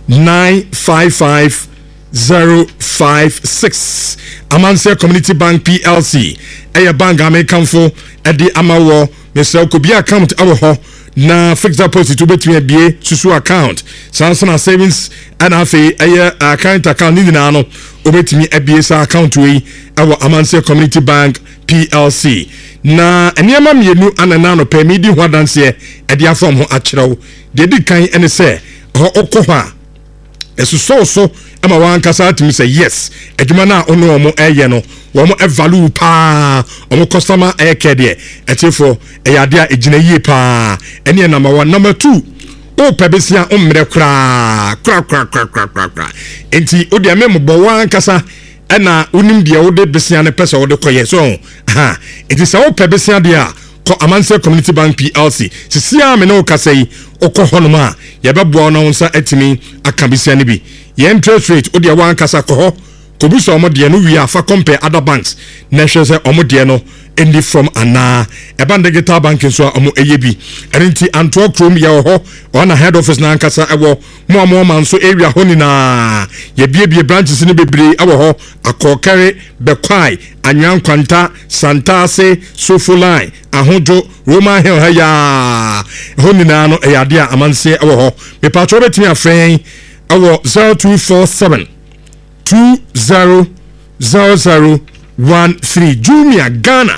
nine five five zero five six. Amanseɛ Community Bank P L C ɛyɛ bank a mekamfo ɛde ama wɔ. Mesrɛ, kɔbia account ɛwɔ hɔ na fixed deposit, wobɛtumi abie susu account, saa nso na savings, ɛna afei ɛyɛ current account ne nyinaa no, wobɛtumi abie saa account wei ɛwɔ Amanseɛ Community Bank P L C. Na nneɛma mmienu ana na anɔpɛ medi ho adanseɛ ɛde afɔm ho akyerɛw. Deɛ di kan ɛne sɛ ɛhɔ ɔkɔ hɔ a, ɛsosɔw so ama wankasa atumi sɛ yes, adwuma no a ɔne wɔn ɛyɛ no, wɔn value paa wɔn customer. Ɛyɛ kɛ deɛ ɛtifoɔ, ɛyɛ adeɛ a ɛgyina yie paa. Ɛne yɛ number one. Number two, wopɛ besia mmerɛ koraa koraa koraa koraa koraa koraa koraa nti o deɛ mɛmobɔ wankasa ɛna wonim deɛ wode besia no pɛ sɛ wode kɔyɛ so ha. Nti sɛ wopɛ besia deɛ a, kɔ Amanseɛ Community Bank P L C sisi a me ne wo kasa yi. Wokɔ hɔnom a, yɛbɛboa wo na wo nsa atumi aka besia no bi. Yɛn interest rate, wo deɛ wankasa kɔ hɔ. Kɔbusa ɔmo deɛ no wie a, fa compare other banks na ɛhwɛ sɛ ɔmo deɛ no ɛni from anaa. Ɛba no digital banking nso a, ɔmo ɛyɛ bi. Ɛno nti Antoa kurom yɛwɔ hɔ, ɔna head office na ankasa ɛwɔ mo a mo ɔma nso area hɔ nyinaa. Yɛbiebie branches no bebree ɛwɔ hɔ: Akɔkɛre, Bɛkwae, Anwea Nkwanta, Santaase, Sofo Line, Ahodwo, Roman Hill ha yaa ɛhɔ nyinaa no, ɛyɛ adeɛ a amanseɛ ɛwɔ hɔ. Mepatwɛ, wobɛtumi afrɛ yɛn ɛwɔ zero two four seven two zero zero zero one three. Jumia Ghana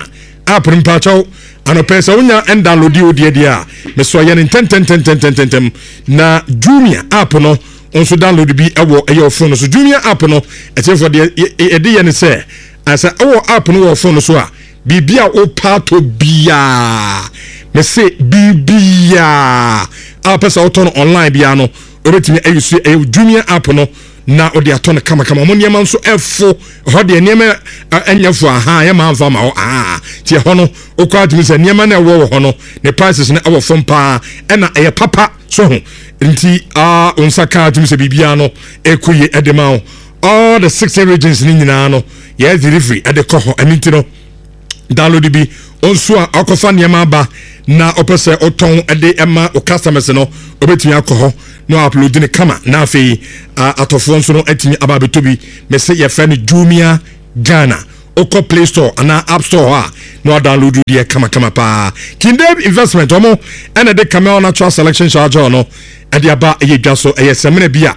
app no, mpakyɛw, anɔpɛ sɛ wonya ɛndownload wo deɛ deɛ a, mesɔ yɛ no ntɛntɛntɛntɛntɛntɛm na Jumia app no nso download bi ɛwɔ ɛyɛ phone no so. Jumia app no, ɛtiɛfoɔ, deɛ yɛde yɛ ne sɛ, sɛ ɛwɔ app no wɔ phone no so a, biribi a wopa atɔ biaa, mese biribiaa a wopɛ sɛ wotɔ no online biara no, wobɛtumi ayi so ɛyɛ Jumia app no na wode atɔ no kamakama. Ɔmo nneɛma nso ɛfo hɔ deɛ, nneɛma ɛnyɛ fo aha yɛ maa nfa ma hɔ aha. Ti ɛhɔ no, wokɔ atumi sɛ nneɛma no ɛwɔ wɔ hɔ no, ne prices no ɛwɔ fam paa, ɛna ɛyɛ papa so ho. Nti aa wo nsa kaa, atumi sɛ biribiara no ɛkɔ yie ɛde ma wo. All the sixteen regions ne nyinaa no, yɛ delivery ɛde kɔ hɔ. Ɛno nti no, download bi nso a akɔfa nneɛma aba na ɔpɛ sɛ ɔtɔn ɛde ɛma o customers no, ɔbɛtumi akɔ hɔ na upload ne kama, na afei atɔfoɔ nso no atumi aba abɛtɔ bi. Mɛsɛ yɛfrɛ no Jumia Ghana. Wokɔ Play Store anaa App Store hɔ a, na wadownload deɛ kamakama paa. Kindab Investment, ɔmo ɛna de Camel Natural Selection Shower Gel no ɛde aba ɛyɛ dwa so. Ɛyɛ sɛmina bi a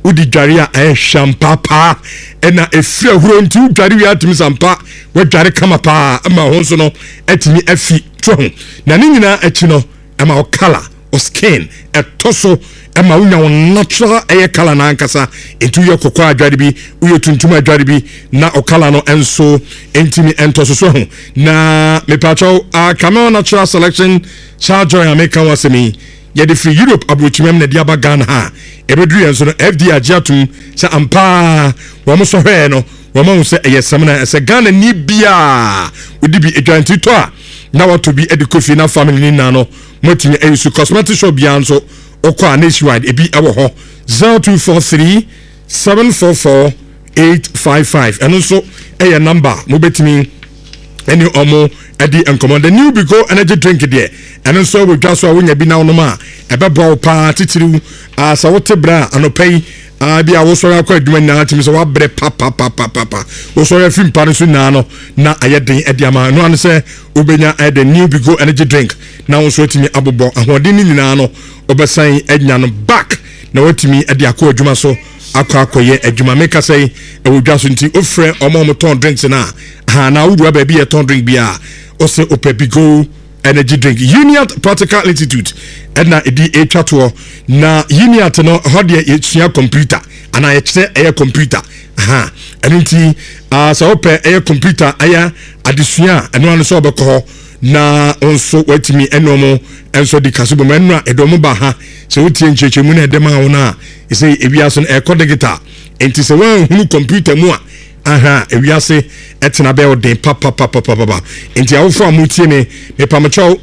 wodi dware a, ɛyɛ hwampa paa, ɛna efiri ahuro. Nti wodware wie, atumi sampa wadware kama paa, ɛma ho nso no atumi afi to ho. Na ne nyinaa akyi no, ɛma wo colour, wo skin ɛtɔ so, ɛma wonya wo natural ɛyɛ colour n'ankasa. Nti woyɛ kɔkɔɔ adware bi, woyɛ tuntum adware bi, na o colour no nso ntumi ɛntɔ so so ho. Na mepatwɛw, uh, Camel Natural Selection Shower Gel a meka ho asɛm yi, yɛde firi Europe aburokyimam na ɛde aba Ghana ha. Ɛbɛduru yɛn so no, F D A agye atom sɛ ampaa wɔn sɔ hwɛɛ no, wɔn ahu sɛ ɛyɛ sɛm na ɛsɛ Ghana ni biaa wodi bi adwa. Nti tɔ a, na watɔ bi de kɔ fie na family ne nyinaa no moatumi ayi so. Cosmetic shop biara nso wokɔ a, nationwide ebi ɛwɔ hɔ. zero two four three seven four four eight five five, ɛno nso ɛyɛ number mobɛtumi ɛne ɔmo ɛdi nkɔmɔ. The new Bigo energy drink deɛ, ɛno nso ɛwɔ dwa so a wonya bi na wonom a, ɛbɛboa wo paa titiriw. Sɛ wote berɛ a anɔpa yi bi a wosɔre akɔ adwuma nyinaa, tumi sɛ woabrɛ papapapapa, wosɔre afiri mpa no so nyinaa no na ayɛ den ɛde ama ɛno ano sɛ wobɛnya ɛyɛ new Bigo energy drink na wo nso atumi abobɔ ahoɔden no nyinaa no, wobɛsan anya no back na watumi ɛde akɔ adwuma so, akɔ akɔyɛ adwuma. Meka sɛ ɛwɔ dwa so, nti wofrɛ ɔmo a ɔmo drinks no a ha na wowura baabi yɛ tɔn drink bi a, ɔsɛ ɔpɛ Bigo energy drink. Uniat Practical Institute ɛna ɛdi ɛtwa toɔ. Na Uniat no hɔ deɛ, yɛsua computer anaa yɛkyerɛ ɛyɛ computer aha. Ɛno nti uh, sɛ wopɛ ɛyɛ computer ɛyɛ adesua a, ɛno ano sɛ wobɛkɔ hɔ na nso watumi ɛne ɔmo nso di kaso bɔ mu. Ɛno a ɛde ɔmo ba ha sɛ wotie nkyerɛkyerɛmu no ɛde ma wo no a, ɛsɛ ewiase no ɛkɔ digital, nti sɛ woanhunu computer mu a, aha ewiase ɛtena bɛyɛ ɔden papapapapapa. Nti awofo a motie me, mepamokyɛw,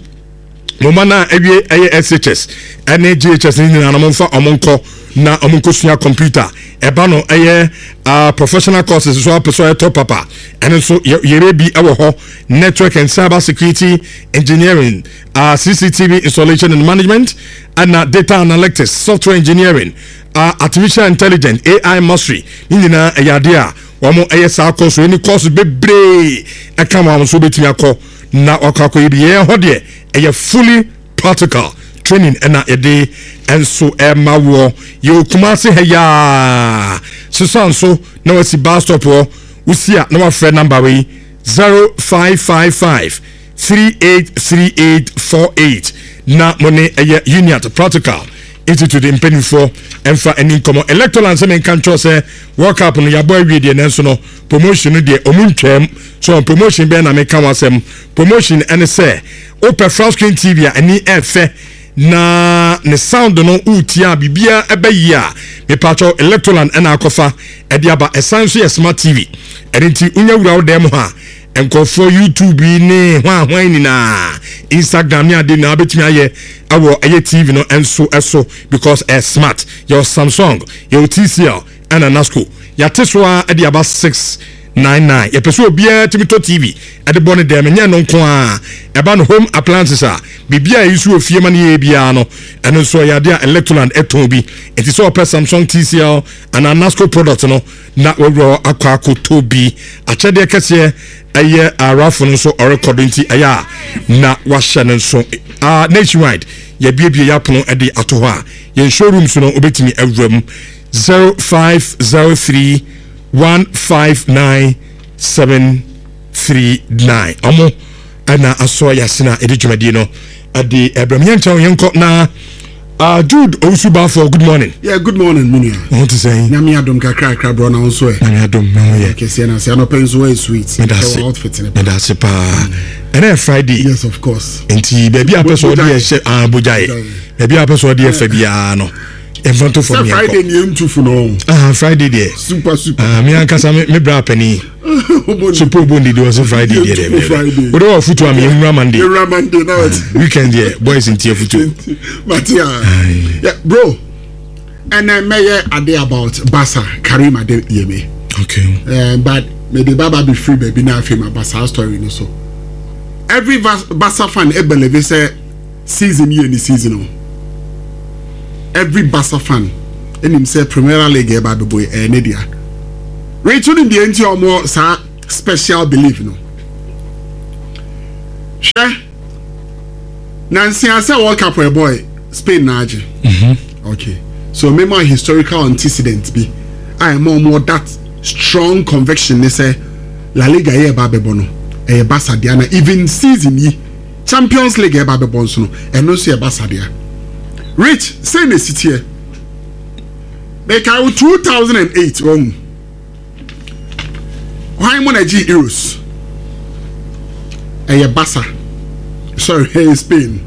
mo ma no a awie ɛyɛ S H S ɛne J H S ne nyinaa no, momfa ɔmo nkɔ na ɔmo nkɔsua computer. Ɛba no ɛyɛ uh, professional courses so apɛ so ɛyɛ papa, ɛno nso yɛrɛ bi ɛwɔ hɔ: network and cyber security engineering, uh, C C T V installation and management, ɛna data analytics, software engineering, uh, artificial intelligence, A I mastery. Ne nyinaa ɛyɛ adeɛ a wɔn ɛyɛ saa course ɛne course bebree ɛka wɔn nso bɛtumi akɔ na wakɔ akɔ yi bi. Yɛn hɔ deɛ, ɛyɛ fully practical training ɛna yɛde nso ɛma wɔ yɛwɔ Kumase ha yaa sisan so na wasi bus stop hɔ. Wosi a, na wafrɛ number wei: zero five five five three eight three eight four eight, na mo ne ɛyɛ Uniat Practical Institute mpanimfoɔ ɛmfa ani nkɔmmɔ. Electoral nsɛm nka nkyerɛ sɛ World Cup no yɛabɔ awie deɛ, nanso no promotion no deɛ, ɔmu ntwam so. Promotion bɛn na meka ho asɛm? Promotion ɛne sɛ wopɛ flat screen T V a ani ɛfɛ na ne sound no wotie a, biribiara ɛbɛyi a, mepatwɛ, Electroland ɛna akɔfa ɛde aba. Ɛsan nso yɛ smart T V. Ɛno nti wonya wura wo dan mu ha, nkurɔfoɔ YouTube yi ne hwan hwan nyinaa, Instagram ne ade nyinaa bɛtumi ayɛ ɛwɔ ɛyɛ T V no nso ɛso because ɛyɛ smart. Yɛwɔ Samsung, yɛwɔ T C L ɛna Nasco. Yɛate so a ɛde aba six nine nine. Yɛpɛ sɛ obiara tumi tɔ T V ɛde bɔ ne dɛm. Nyɛ no nko a, ɛba no home appliances a, biribi a ɛyi so wɔ fie ma no yɛ biara no, ɛno nso ɛyɛ adeɛ a Electroland ɛtɔn bi. Nti sɛ ɔpɛ Samsung, T C L anaa Nasco product no na wɔawura akɔ akɔtɔ bi. Akyɛdeɛ kɛseɛ ɛyɛ arafo no nso ɔrekɔdo, nti ɛyɛ a na wahyɛ no nso. uh, nationwide yɛbiebie yɛ apono ɛde ato hɔ a yɛn showrooms no, wobɛtumi awura mu. zero five zero three one five nine seven three nine. Ɔmo ɛna asɔ yɛasena a ɛde dwumadie no ɛde ɛbrɛm. Yɛnkyɛn yɛnkɔ na uh, Jude Owusu Bafo, good morning. Yeah, good morning, Munia. Ɔho te sɛn? Nyame adom, kakra kakra brɔ na wo nso ɛ? Nyame adom, me ho yɛ. Kɛseɛ na sɛ anɔpɛ nso wɔyɛ sweet. Meda ase. Ɛwɔ outfit ne. Meda ase paa. Ɛnɛ yɛ Friday. Yes, of course. Nti baabi a pɛ sɛ ɔde ɛhyɛ ah bogyae, baabi a pɛ sɛ ɔde ɛfɛ biara no, yɛmfa nto fam. Sɛ Friday ni yɛntu fo no. Ah, Friday deɛ. Super super. Ah, me ankasa me me bra pani super obo ndidi wɔ so Friday deɛ deɛ deɛ wode wɔ futu a me yɛnwura Monday. Yɛnwura Monday na wɔte. Weekend deɛ, boys nti afutu. Mate a. Yeah, bro. Ɛnɛ mɛyɛ ade about Barca, Karim Adeyemi. Okay. Uh, but maybe baba be free baabi na afei ma ba saa story no so. Every Barca fan ebelieve sɛ season yɛ ni season o. Every Barca fan ɛnim sɛ Premier League ɛba abɛbɔ ɛyɛ ne dea. Rachel nim deɛ nti a ɔmo saa special belief no. Hwɛ, nansia sɛ World Cup ɛbɔ Spain na agye. Okay, so mema historical antecedent bi a ɛma ɔmo that strong conviction ne sɛ La Liga yɛ ɛba abɛbɔ no ɛyɛ Barca dea, na even season yi Champions League ɛba abɛbɔ nso no, ɛno nso yɛ Barca dea. Rich, sɛ na esi teɛ, meka wo two thousand and eight wɔn hwan mo na gye Euros? Ɛyɛ Barca, sorry, ɛyɛ Spain.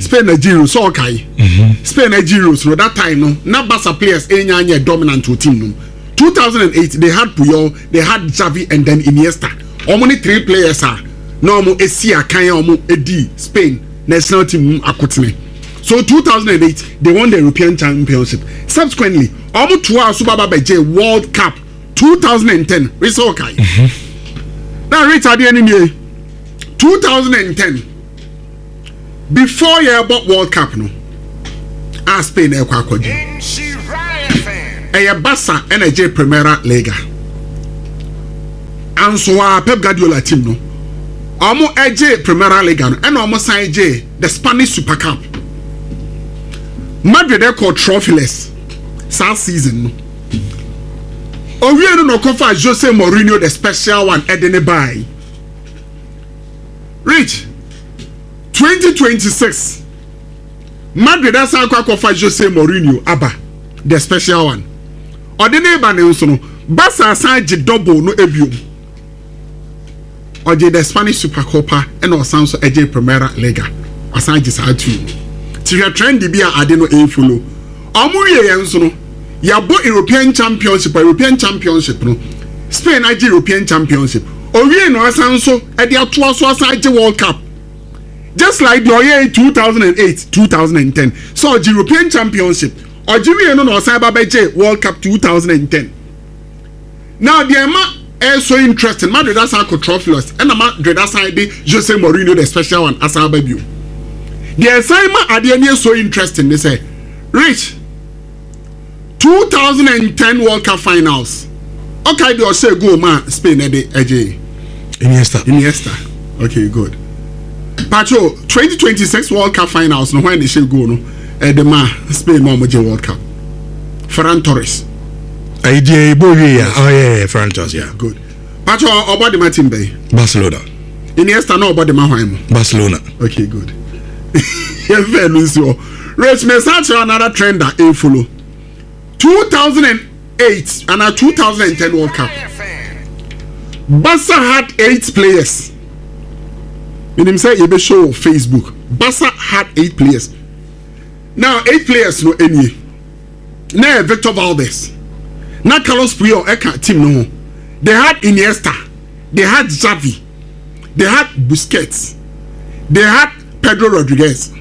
Spain na gye Euros. Sɛ ɔkae Spain na gye Euros no, that time no na Barca players enya anyɛ dominant wɔ team no. two thousand and eight they had Puyol, they had Xavi and then Iniesta. Wɔn ne three players a na wɔn esi akan a wɔn edi Spain national team mu akotene. So two thousand and eight they won the European Championship. Subsequently wɔn toa so baba bɛgye World Cup twenty ten. Risa, ɔkae na rate adeɛ no nie: twenty ten before yɛbɔ World Cup no a Spain ɛkɔ akɔgye, ɛyɛ Barca ɛna ɛgye Primera Liga. Anso a Pep Guardiola team no, ɔmo ɛgye Primera Liga no ɛna ɔmo san gye the Spanish Super Cup. Madrid ɛkɔ trophyless saa season no. Owie no na ɔkɔfa Jose Mourinho, the special one, ɛde ne baa. Rich, twenty twenty-six Madrid asan akɔ akɔfa Jose Mourinho aba, the special one. Ɔde ne ba ne nso no, Barca asan gye double no ebiom. Ɔgye the Spanish Supercopa ɛna ɔsan so ɛgye Primera Liga. Ɔsan gye saa two. Ti hwɛ trend bi a ade no ɛfollow. Ɔmo wie yɛn nso no, yɛabɔ European Championship. A European Championship no, Spain agye European Championship. Owie no asan so ɛde atoa so asan agye World Cup, just like deɛ ɔyɛ two thousand and eight, two thousand and ten. So ɔgye European Championship, ɔgye wie no na ɔsan ba bɛgye World Cup twenty ten. Now deɛ ɛma ɛyɛ so interesting, Madrid asan akɔ trophyless, ɛna Madrid asan de Jose Mourinho, the special one, asan aba bio. Deɛ ɛsan ma adeɛ no yɛ so interesting ne sɛ, Rich, twenty ten World Cup finals, ɔkae deɛ ɔhyɛ goal ma Spain ɛde ɛgye? Iniesta. Iniesta, okay, good. Pacho, twenty twenty-six World Cup finals no, hwan na ɛhyɛ goal no ɛde ma Spain ma ɔmo gye World Cup? Ferran Torres. Ayi deɛ ebo wie ya. Oh yeah, yeah, Ferran Torres, yeah. Good. Pacho, ɔbɔ de ma team bɛyi? Barcelona. Iniesta na ɔbɔ de ma hwan mo? Barcelona. Okay, good. Yɛn fɛ no nsi hɔ. Rich, mɛ san kyerɛ another trend a ɛfollow. two thousand and eight and twenty ten World Cup, Barca had eight players. Menim sɛ yɛbɛ show wɔ Facebook. Barca had eight players. Now eight players no enie: na yɛ Victor Valdes, na Carlos Puyol ɛka team no ho, they had Iniesta, they had Xavi, they had Busquets, they had Pedro Rodriguez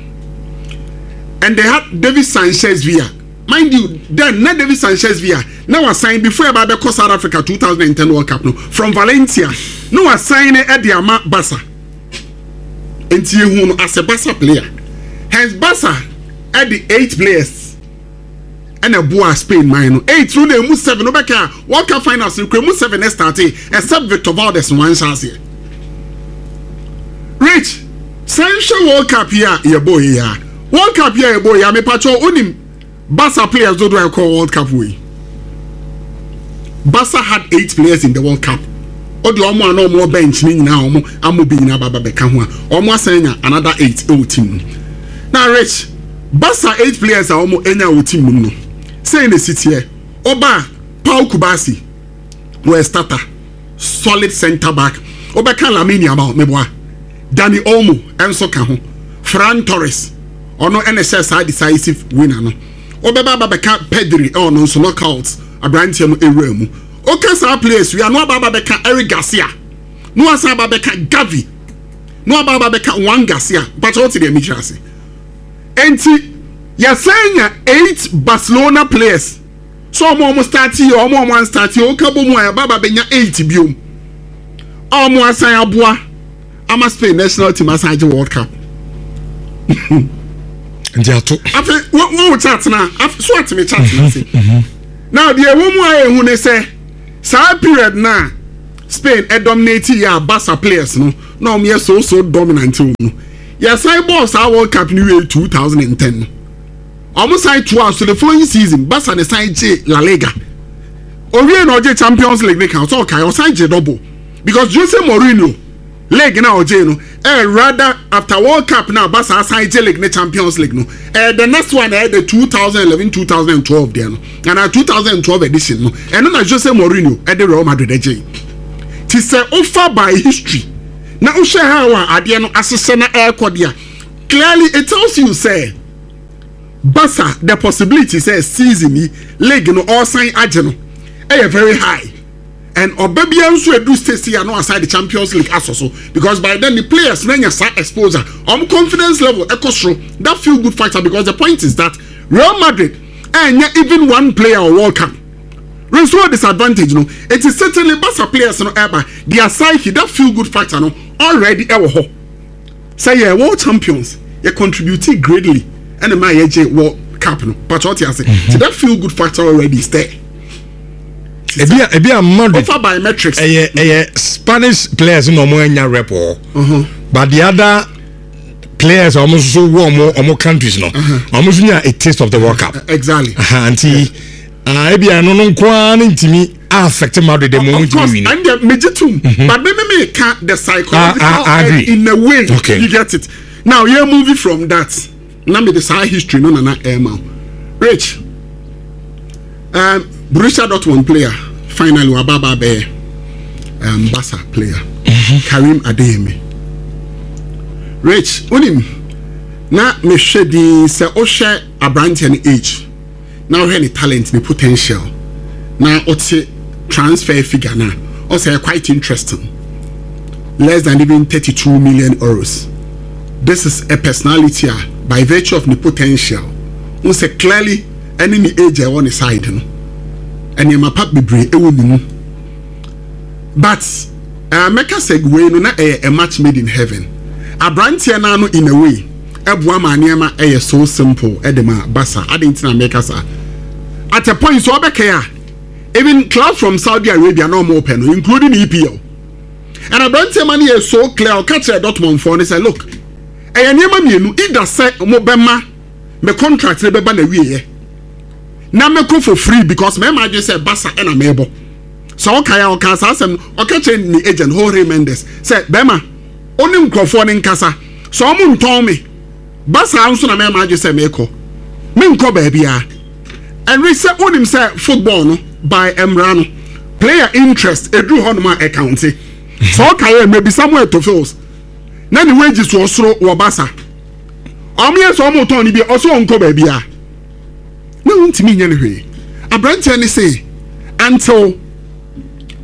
and they had David Sanchez Villa. Mind you, then na David Sanchez Villa na wasign before ɛba abɛkɔ South Africa twenty ten World Cup no from Valencia, na wasign ne ɛde ama Barca, nti ehu no as a Barca player. Hence Barca ɛde eight players ɛna ɛboa Spain man no. Eight no na emu seven no bɛka a World Cup finals no kura emu seven ɛ start, except Victor Valdes no wanhyɛ aseɛ. Rich, sɛ nhwɛ World Cup yi a yɛbɔ yi a, World Cup yi a yɛbɔ yi a, mepatwɛ, onim Barca players dodo a ɛkɔ World Cup wɔ yi? Barca had eight players in the World Cup. Ɔde ɔmo a na ɔmo wɔ bench ne nyinaa, ɔmo amo bi nyinaa baba bɛka ho a, ɔmo asan nya another eight ɛwɔ team no. Na Rich, Barca eight players a ɔmo anya wɔ team no mu no, sɛn na esi teɛ? Ɔba Pau Cubarsi wɔ starter, solid centre back. Ɔbɛka Lamine Yamal, meboa, Dani Olmo ɛnso ka ho, Ferran Torres, ɔno ɛna ɛhyɛ saa decisive winner no. Ɔbɛba aba bɛka Pedri, ɛwɔ nso knockout aberanteɛ no ewura mu. Ɔka saa players wi ano, aba aba bɛka Eric Garcia, na wasan aba bɛka Gavi, na waba aba bɛka Joan Garcia. Mpakyɛ, wɔte deɛ mekyerɛ ase? Nti yɛsɛn nya eight Barcelona players so ɔmo ɔmo start yɛ, ɔmo ɔmo an start yɛ, ɔka bɔ mu a, yɛba aba bɛnya eight biom a ɔmo asan aboa ama Spain national team asan agye World Cup. Nti ato. Afei wɔn wɔn chat na so atemi chat na se now, deɛ ɛwɔ mu a ehu ne sɛ saa period na Spain ɛdominate yɛ a, Barca players no na wɔn yɛ so so dominant wɔ mu. Yɛsan bɔɔl saa World Cup ni wie two thousand and ten no, wɔn san to a so the following season, Barca ne san gye La Liga owie na ɔgye Champions League ne kan so. Ɔkae ɔsan gye double because Jose Mourinho league na ɔgye no ɛyɛ rather after World Cup na Barca asan gye league ne Champions League no. Ɛyɛ the next one, ɛyɛ the two thousand eleven two thousand twelve deɛ no ana two thousand twelve edition no. Ɛno na Jose Mourinho ɛde Real Madrid ɛgye. Ti sɛ ofa by history na wohwɛ ha a, adeɛ no ahyehyɛ na ɛrekɔ deɛ, clearly it tells you say Barca, the possibility sɛ season yi league no ɔsan agye no ɛyɛ very high, and ɔba bia nso edu stage yi a, no aside the Champions League asɔ so, because by then the players na nya saa exposure, ɔmo confidence level ɛkɔ soro, that feel good factor. Because the point is that Real Madrid ɛnya even one player wɔ World Cup result disadvantage no. It is certainly Barca players no ɛba, their psyche, that feel good factor no already ɛwɔ hɔ sɛ yɛ world champions, yɛ contribute greatly ɛna maa yɛ gye World Cup no. Pàtó ɔte ase, so that feel good factor already is there. Ebi a ebi a Madrid Ofa biometrics. ɛyɛ ɛyɛ Spanish players na ɔmo anya rep wɔ, but the other players a ɔmo nso wɔ ɔmo ɔmo countries no, ɔmo nso nya a taste of the World Cup. Exactly. Aha, nti ah, ebi a no no nko ara ne ntumi affect Madrid de mo Of course. ntumi win. And the megye tum, but me me me ka the psychological I- I end agree. in a way. Okay. You get it now? Yɛ movie from that na me de saa history no nana ɛɛma Rich, um, Borussia Dortmund player finally waba aba abɛyɛ um, Barca player, Karim Adeyemi. Rich, onim na mehwɛ din sɛ wohwɛ aberanteɛ no age na wohwɛ ne talent, ne potential, na ɔte transfer figure na ɔsɛ quite interesting, less than even thirty-two million euros. This is a personality a by virtue of ne potential n sɛ clearly ɛne ne age a ɛwɔ ne side no, nneɛma pa bebree ɛwɔ ne mu. But uh, mɛka sɛ wei no na ɛyɛ a match made in heaven. Aberanteɛ no ano in a way ɛboa ma nneɛma ɛyɛ so simple ɛde ma Barca. Ade nti na mɛka saa, at a point so ɔbɛkɛ a, even clubs from Saudi Arabia na ɔmo pɛ no, including E P L, and aberanteɛ ma no yɛ so clear. Ɔka kyerɛ Dortmund foɔ no sɛ, look, ɛyɛ nneɛma mmienu: either sɛ mo bɛma me contract ne bɛba na wieɛ na mɛkɔ for free, because mɛma adwene sɛ Barca ɛna mɛbɔ. Sɛ ɔka ya, ɔka saa asɛm no, ɔka kyerɛ ne agent Jorge Mendes sɛ, bɛrima, ɔne nkurɔfoɔ ne nkasa sɛ ɔmo ntɔn me Barca nso na mɛma adwene sɛ mɛkɔ, menkɔ baabiara. Ɛnri sɛ wonim sɛ football no by mmara no, player interest eduru hɔnom a ɛcounte. Sɛ ɔka yɛ mɛbi Samuel Tofils na ne wages wɔ soro wɔ Barca, ɔmo yɛ sɛ ɔmo tɔn ne bi, ɔsɛ ɔnkɔ baabiara na wontumi nyɛ no hwee. Aberanteɛ ne se until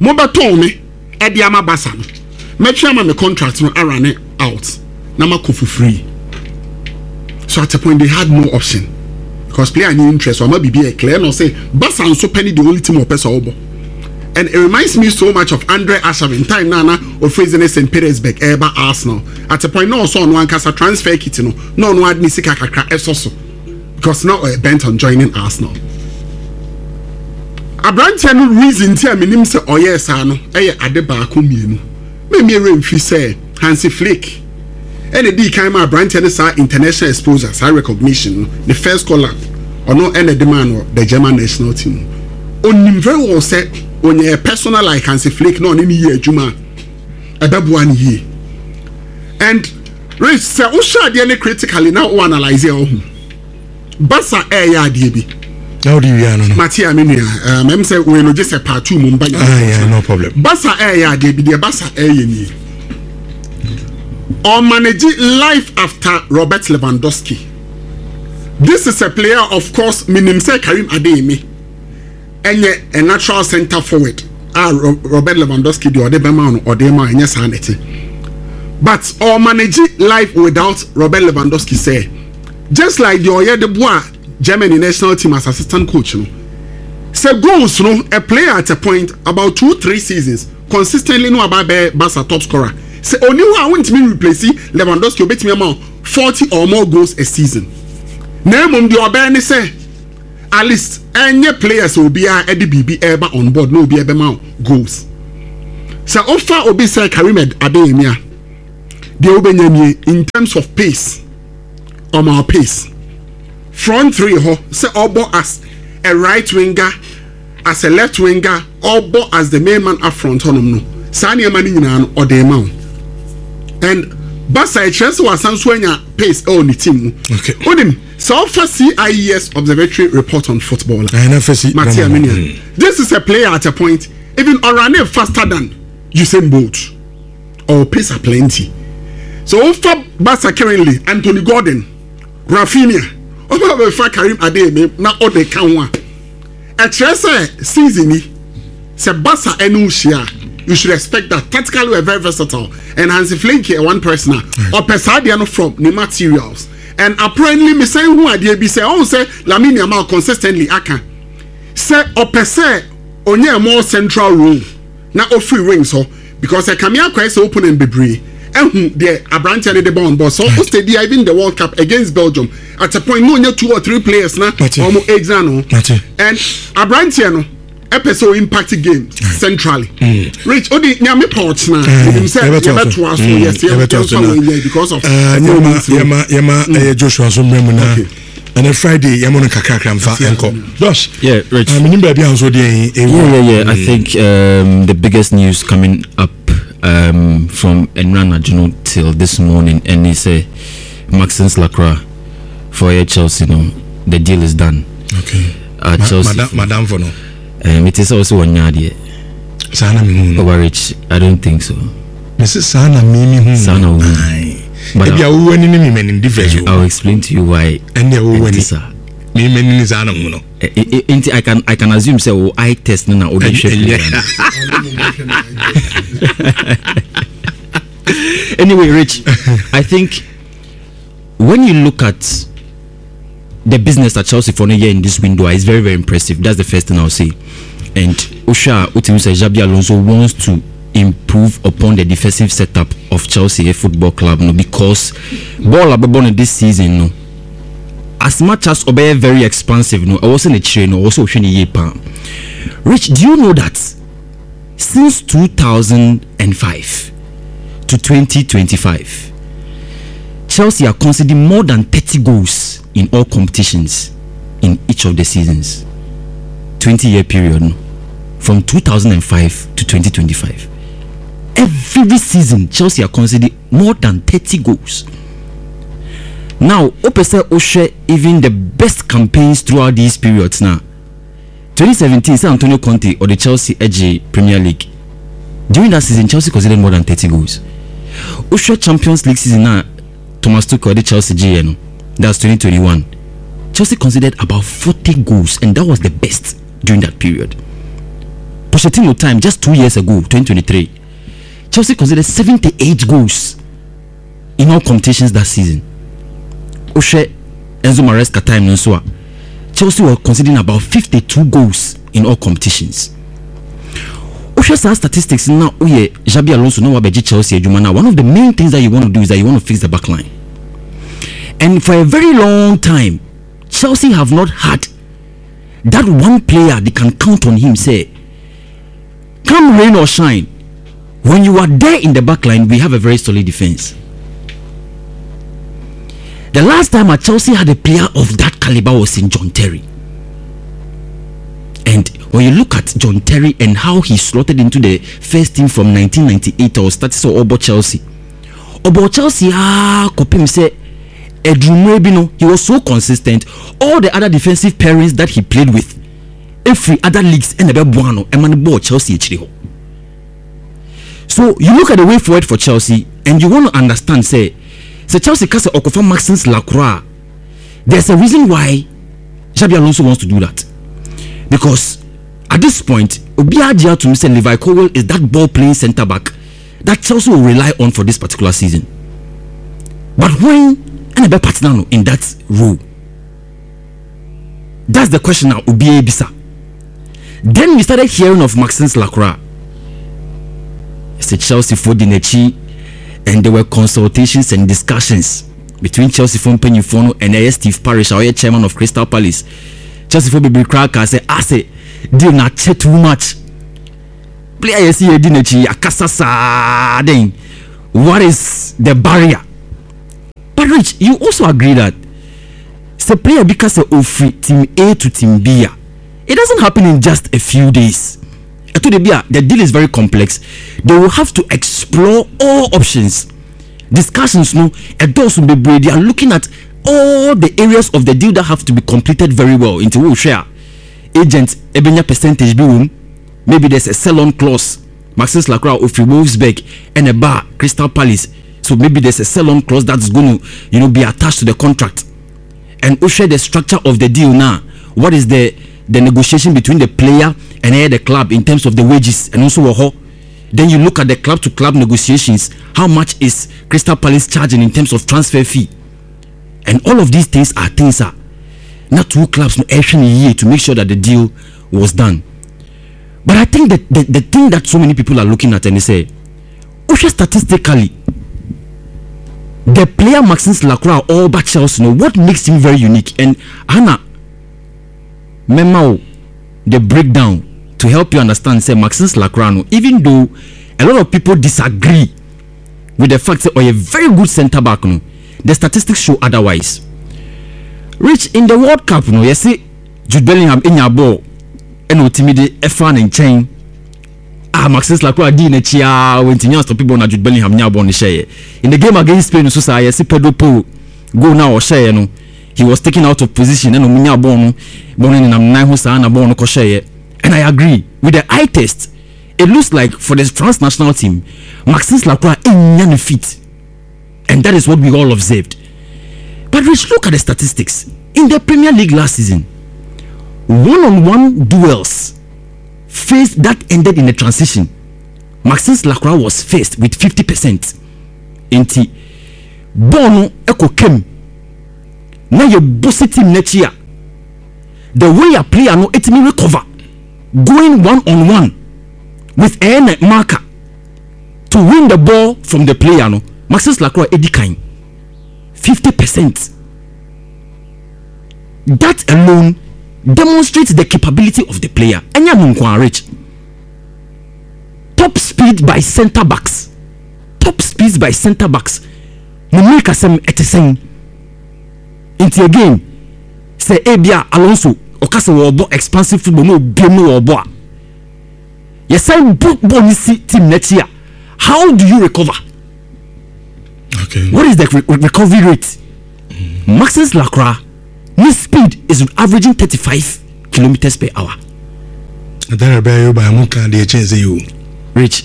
mobɛtɔn me ɛde ama Barca no, mɛtwe ama me contract no arun out na makɔ for free. So at a point they had no option. Because player ni interest ɔma biribi yɛ clear na ɔsɛ Barca nso pɛ ne the only team ɔpɛ sɛ ɔbɔ. And it reminds me so much of Andre Arshavin time na na ofiri Zenit Saint Petersburg ɛreba Arsenal. At a point na ɔsɔ ɔno ankasa transfer kit no na ɔno ade ne sika kakra ɛsɔ so because na ɔyɛ bent on joining Arsenal. Aberanteɛ no reason ti a menim sɛ ɔyɛɛ saa no ɛyɛ ade baako mmienu. Mmemme remfi sɛ Hansi Flick ɛna di kan ma aberanteɛ no saa international exposure, saa recognition no, the first call up ɔno ɛna de maa no the German national team. Onim very well sɛ onyɛ personal like Hansi Flick na ɔne ne yie adwuma a ɛbɛboa ne yie. And Rich, sɛ wohyɛ adeɛ no critically na wo analyse a, ɔho Barca ɛɛyɛ adeɛ bi. Na wode wia no no. Mate a, me nua, mɛm sɛ wei no gye sɛ part two mu mba. Ah, yeah, no problem. Barca ɛɛyɛ adeɛ bi. Deɛ Barca ɛɛyɛ nie, ɔmanage life after Robert Lewandowski. This is a player, of course minim sɛ Karim Adeyemi ɛnyɛ a natural centre forward a Robert Lewandowski deɛ ɔde bɛma no ɔde ma ɛnyɛ saa nɛte, but ɔmanage life without Robert Lewandowski sɛ just like deɛ ɔyɛ de boa Germany national team as assistant coach no, sɛ goals no, a player at a point about two three seasons consistently no aba bɛyɛ Barca top scorer, sɛ oni hɔ a wontumi replace Lewandowski, obetumi ama forty or more goals a season. Na emom deɛ ɔbɛyɛ ne sɛ at least ɛnyɛ players obiara ɛde biribi ɛreba on board na obiara bɛma goals. Sɛ ofa obi sɛ Karim Adeyemi a, deɛ wobɛnya nie in terms of pace, ɔma pace front three hɔ, sɛ ɔbɔ as a right winger, as a left winger, ɔbɔ as the main man up front hɔnom no, saa nneɛma no nyinaa no ɔde ma wo. And Barca ɛkyerɛ sɛ wasan so anya pace ɛwɔ ne team mu. Okay. Onim sɛ ɔfa C I E S Observatory report on football. Ɛna fɛ si. Mate Aminia, this is a player at a point even ɔrun faster than Usain Bolt or pace are plenty. So ofa Barca currently, Anthony Gordon, Raphinha, ɔba bɛfa Karim Adeyemi na ɔde ka ho a, ɛkyerɛ sɛ season yi sɛ Barca ɛne hyia, you should expect that tactically we are very versatile and Hansi Flick yɛ one person a ɔpɛ saa adeɛ no from ne materials. And apparently mesan hu adeɛ bi sɛ ɔn sɛ Lamine Yamal consistently aka sɛ ɔpɛ sɛ ɔnyɛ more central role na ofiri wings hɔ because ɛkame akɔɛ sɛ opponent bebree ɛhu deɛ aberanteɛ no de bɔ on ball. So o steady, even the World Cup against Belgium, at a point no onye two or three players na ɔmo egyina no and aberanteɛ no ɛpɛ sɛ o impact game centrally. Rich, o di nyame pa ɔkyena enim sɛ yɛbɛtoa so. Yes, yɛbɛtoa so wɔ because of yɛma yɛma yɛma ɛyɛ Joshua so mmerɛ mu na ɛnɛ Friday yɛmo no kakrakra mfa ɛnkɔ Josh. Yeah, Rich. Menim baabi a nso deɛ. Yeah, yeah, yeah. I think um, the biggest news coming up um, from ɛnnora anadwo till this morning, and he say Maxence Lacroix for Chelsea, no, the deal is done. Okay. Uh, Ma- Chelsea. Madam, madam for no. Um, it is also one yard. Saa na mehu no. Over Rich, I don't think so. Mese saa na me mehu. Saa na wohu. Aye. But ebi a wowɔ ani ne me m'anim difference I will explain to you why. Ɛne a wowɔ ani Ɛnte saa. me m'ani ne saa na hu no. Eh, eh, eh, nti I can I can assume say oh eye test no na o de hwɛ Ɛnyɛ. player no. Anyway, Rich, I think when you look at the business that Chelsea for here in this window, it's very, very impressive. That's the first thing I'll say. And Usha Utim says Xabi Alonso wants to improve upon the defensive setup of Chelsea Football Club, no, because ball abobon this season, no. As much as ɔbɛyɛ very expansive, no, I wasn't a trainer, also pa. Rich, do you know that since two thousand five to twenty twenty-five, Chelsea are conceding more than thirty goals in all competitions in each of the seasons? twenty year period, no? From two thousand five to twenty twenty-five. Every season, Chelsea are conceding more than thirty goals. Now, wopɛ sɛ wohwɛ even the best campaigns throughout these periods now. twenty seventeen, sɛ Antonio Conte or the Chelsea edge Premier League. During that season, Chelsea conceded more than thirty goals. Wohwɛ Champions League season now, Thomas Tuchel de Chelsea gye no. That's twenty twenty-one. Chelsea conceded about forty goals, and that was the best during that period. Pochettino time, just two years ago, twenty twenty-three, Chelsea conceded seventy-eight goals in all competitions that season. Wohwɛ Enzo Maresca time no nso a, Chelsea were conceding about fifty-two goals in all competitions. Wohwɛ saa statistics na woyɛ Xabi Alonso na wabɛgye Chelsea adwuma na one of the main things that you want to do is that you want to fix the back line. And for a very long time, Chelsea have not had that one player they can count on him, say, come rain or shine, when you are there in the back line, we have a very solid defense. The last time at Chelsea had a player of that caliber was in John Terry. And when you look at John Terry and how he slotted into the first team from nineteen ninety-eight or started so ɔbɔ Chelsea. Ɔbɔ Chelsea ah kɔpem sɛ ɛduru bi no, he was so consistent. All the other defensive pairings that he played with every other leagues ɛna ɛbɛboa no ɛma no bɔɔ Chelsea akyire hɔ. So you look at the way forward for Chelsea and you want to understand say sɛ Chelsea ka sɛ ɔkɔfa Maxence Lacroix, there's a reason why Xabi Alonso wants to do that, because at this point obiara gye atum sɛ Levi Colwill is that ball playing centre back that Chelsea will rely on for this particular season. But when ɛna bɛ partner no in that role? That's the question now obiara bisa. Then we started hearing of Maxence Lacroix sɛ Chelsea foɔ di n'akyi, and there were consultations and discussions between Chelsea foɔ mpanyinfoɔ no and ɛyɛ Steve Parish a ɔyɛ chairman of Crystal Palace. Chelsea foɔ bebree koraa kaa sɛ asɛ deal na akyɛ too much, player yɛ si yɛ di n'akyi akasa saa, then what is the barrier? But Rich, you also agree that sɛ player bi ka sɛ ofiri team A to team B a, it doesn't happen in just a few days. Ɛto de bi a, the deal is very complex. They will have to explore all options. Discussions no ɛdɔɔso bebree. They are looking at all the areas of the deal that have to be completed very well. Nti wo hwɛ a, agent ebenya percentage bi wɔ mu. Maybe there's a sell on clause. Maxence Lacroix ofiri Wolfsburg ɛna ɛba Crystal Palace, so maybe there's a sell on clause that's going to you know be attached to the contract. And wohwɛ the structure of the deal now, what is the the negotiation between the player and uh, the club in terms of the wages and also wɔ hɔ. Then you look at the club to club negotiations. How much is Crystal Palace charging in terms of transfer fee? And all of these things are things are not two clubs no ɛhwɛ ne yie to make sure that the deal was done. But I think that the, the thing that so many people are looking at and they say, wohwɛ statistically, the player Maxence Lacroix ɔba Chelsea no, what makes him very unique, and hana mɛma wo the breakdown to help you understand say Maxence Lacroix no, even though a lot of people disagree with the fact that ɔyɛ very good centre back no, the statistics show otherwise. Rich, in the World Cup no, yɛsi Jude Bellingham enya ball ɛna otimi de ɛfa ne nkyɛn a, Maxence Lacroix di n'akyi a wɔntumi astop ball na Jude Bellingham nya ball no hyɛɛ. In the game against Spain nso saa, yɛsi Pedro Porro goal na ɔhyɛɛ no, he was taken out of position ɛna ɔmo nya ball no, ball no nenam nan ho saa na ball no kɔhyɛɛ. And I agree with the eye test, it looks like for the France national team, Maxence Lacroix enya ne feet, and that is what we all observed. But Rich, look at the statistics in the Premier League last season. One-on-one duels faced that ended in a transition, Maxence Lacroix was first with fifty percent. Nti bɔɔl no ɛkɔ kɛm na yɛ bɔ team n'akyi a, the way a player no etimi recover going one on one with ɛyɛ marker to win the ball from the player no, Maxence Lacroix edi kan, fifty percent. That alone demonstrates the capability of the player. Ɛnyɛ no nko, Rich, top speed by centre backs, top speeds by centre backs mo mmirika sɛm ɛte sɛn? Nti again, sɛ ebia Alonso ɔka sɛ wɔrebɔ expansive football na obiem no wɔrebɔ a, yɛsan bɔ bɔɔl no si team n'akyi a, how do you recover? Okay. What is the re recovery rate? mm. Maxence Lacroix ne speed is averaging thirty-five kilometers per hour. Atara bɛyɛ yóò bá mu kan deɛ kyɛn sɛ yi o. Rich,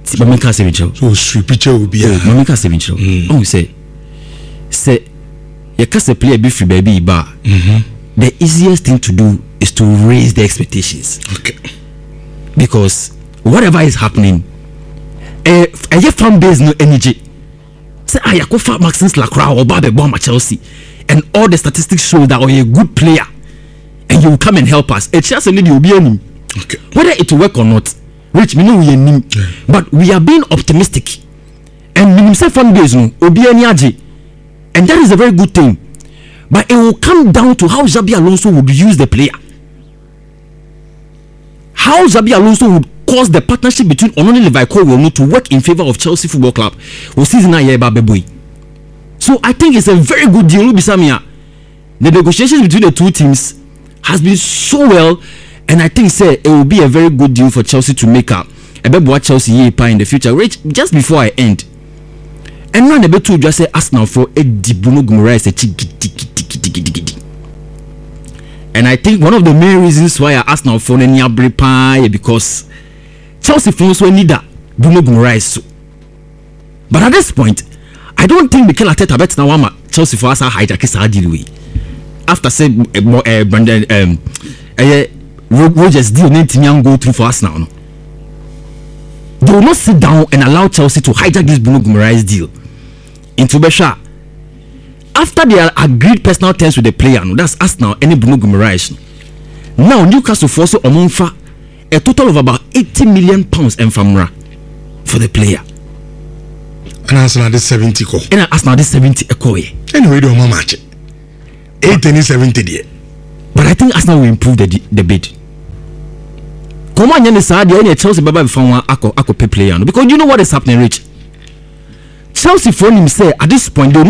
ti maame nka asɛm nkyerɛw. So osiri picture obi a. O maame nka asɛm nkyerɛw. Ɔhun sɛ sɛ yɛka sɛ player bi firi baabi yi ba a, the easiest thing to do is to raise the expectations. Okay. Because whatever is happening, ɛyɛ ɛyɛ fan base no ani gye sɛ a yɛakɔfa Maxence Lacroix a ɔba abɛbɔ ama Chelsea, and all the statistics show that ɔyɛ a good player. And he will come and help us. Ekyir asɛm ne deɛ obi anim. Okay. Whether it will work or not, Rich, me know we anim. But we are being optimistic. And minim sɛ fan base no, obi ani agye. And that is a very good thing. But it will come down to how Xabi Alonso would use the player. How Xabi Alonso would cause the partnership between ɔno ne Levi Colwill no to work in favour of Chelsea Football Club. Wɔ season a yɛreba abɛbɔ yi. So I think it's a very good deal. Wobisa me a, the negotiations between the two teams has been so well, and I think say it will be a very good deal for Chelsea to make up. Ɛbɛboa Chelsea yie pa in the future. Rich, just before I end, ɛno a na ɛbɛto dwa sɛ Arsenal fo edi Bruno Guimaraes akyi gidigidigidigidi. And I think one of the main reasons why Arsenal fo no ani abere paa yɛ because Chelsea fo nso ani da Bruno Guimaraes so. But at this point, I don't think Mikel Arteta bɛtena hɔ ama Chelsea fo asa hijack saa deal wei. After say ɛɛ ɛɛ Brandon ɛɛm ɛyɛ Rogers deal ne ntumi an go through for Arsenal no. They will not sit down and allow Chelsea to hijack this Bruno Guimaraes deal. Nti wobɛhwɛ a after they agreed personal terms with the player no that's Arsenal ɛne Bruno Guimaraes no. Now Newcastle foɔ so ɔmo nfa a total of about eighty million pounds ɛnfa mmra for the player. ɛna Arsenal de seventy kɔ. ɛna Arsenal de seventy ɛkɔɔyɛ. ɛna wei de ɔmo ama akye eighty ne seventy deɛ. But I think Arsenal will improve the the bid. Kɔmɔ anyɛ ne saa deɛ ɛna Chelsea bɛba bɛfa wɔn akɔ akɔ pay player no because you know what is happening Rich. Chelsea foɔ nim sɛ at this point they will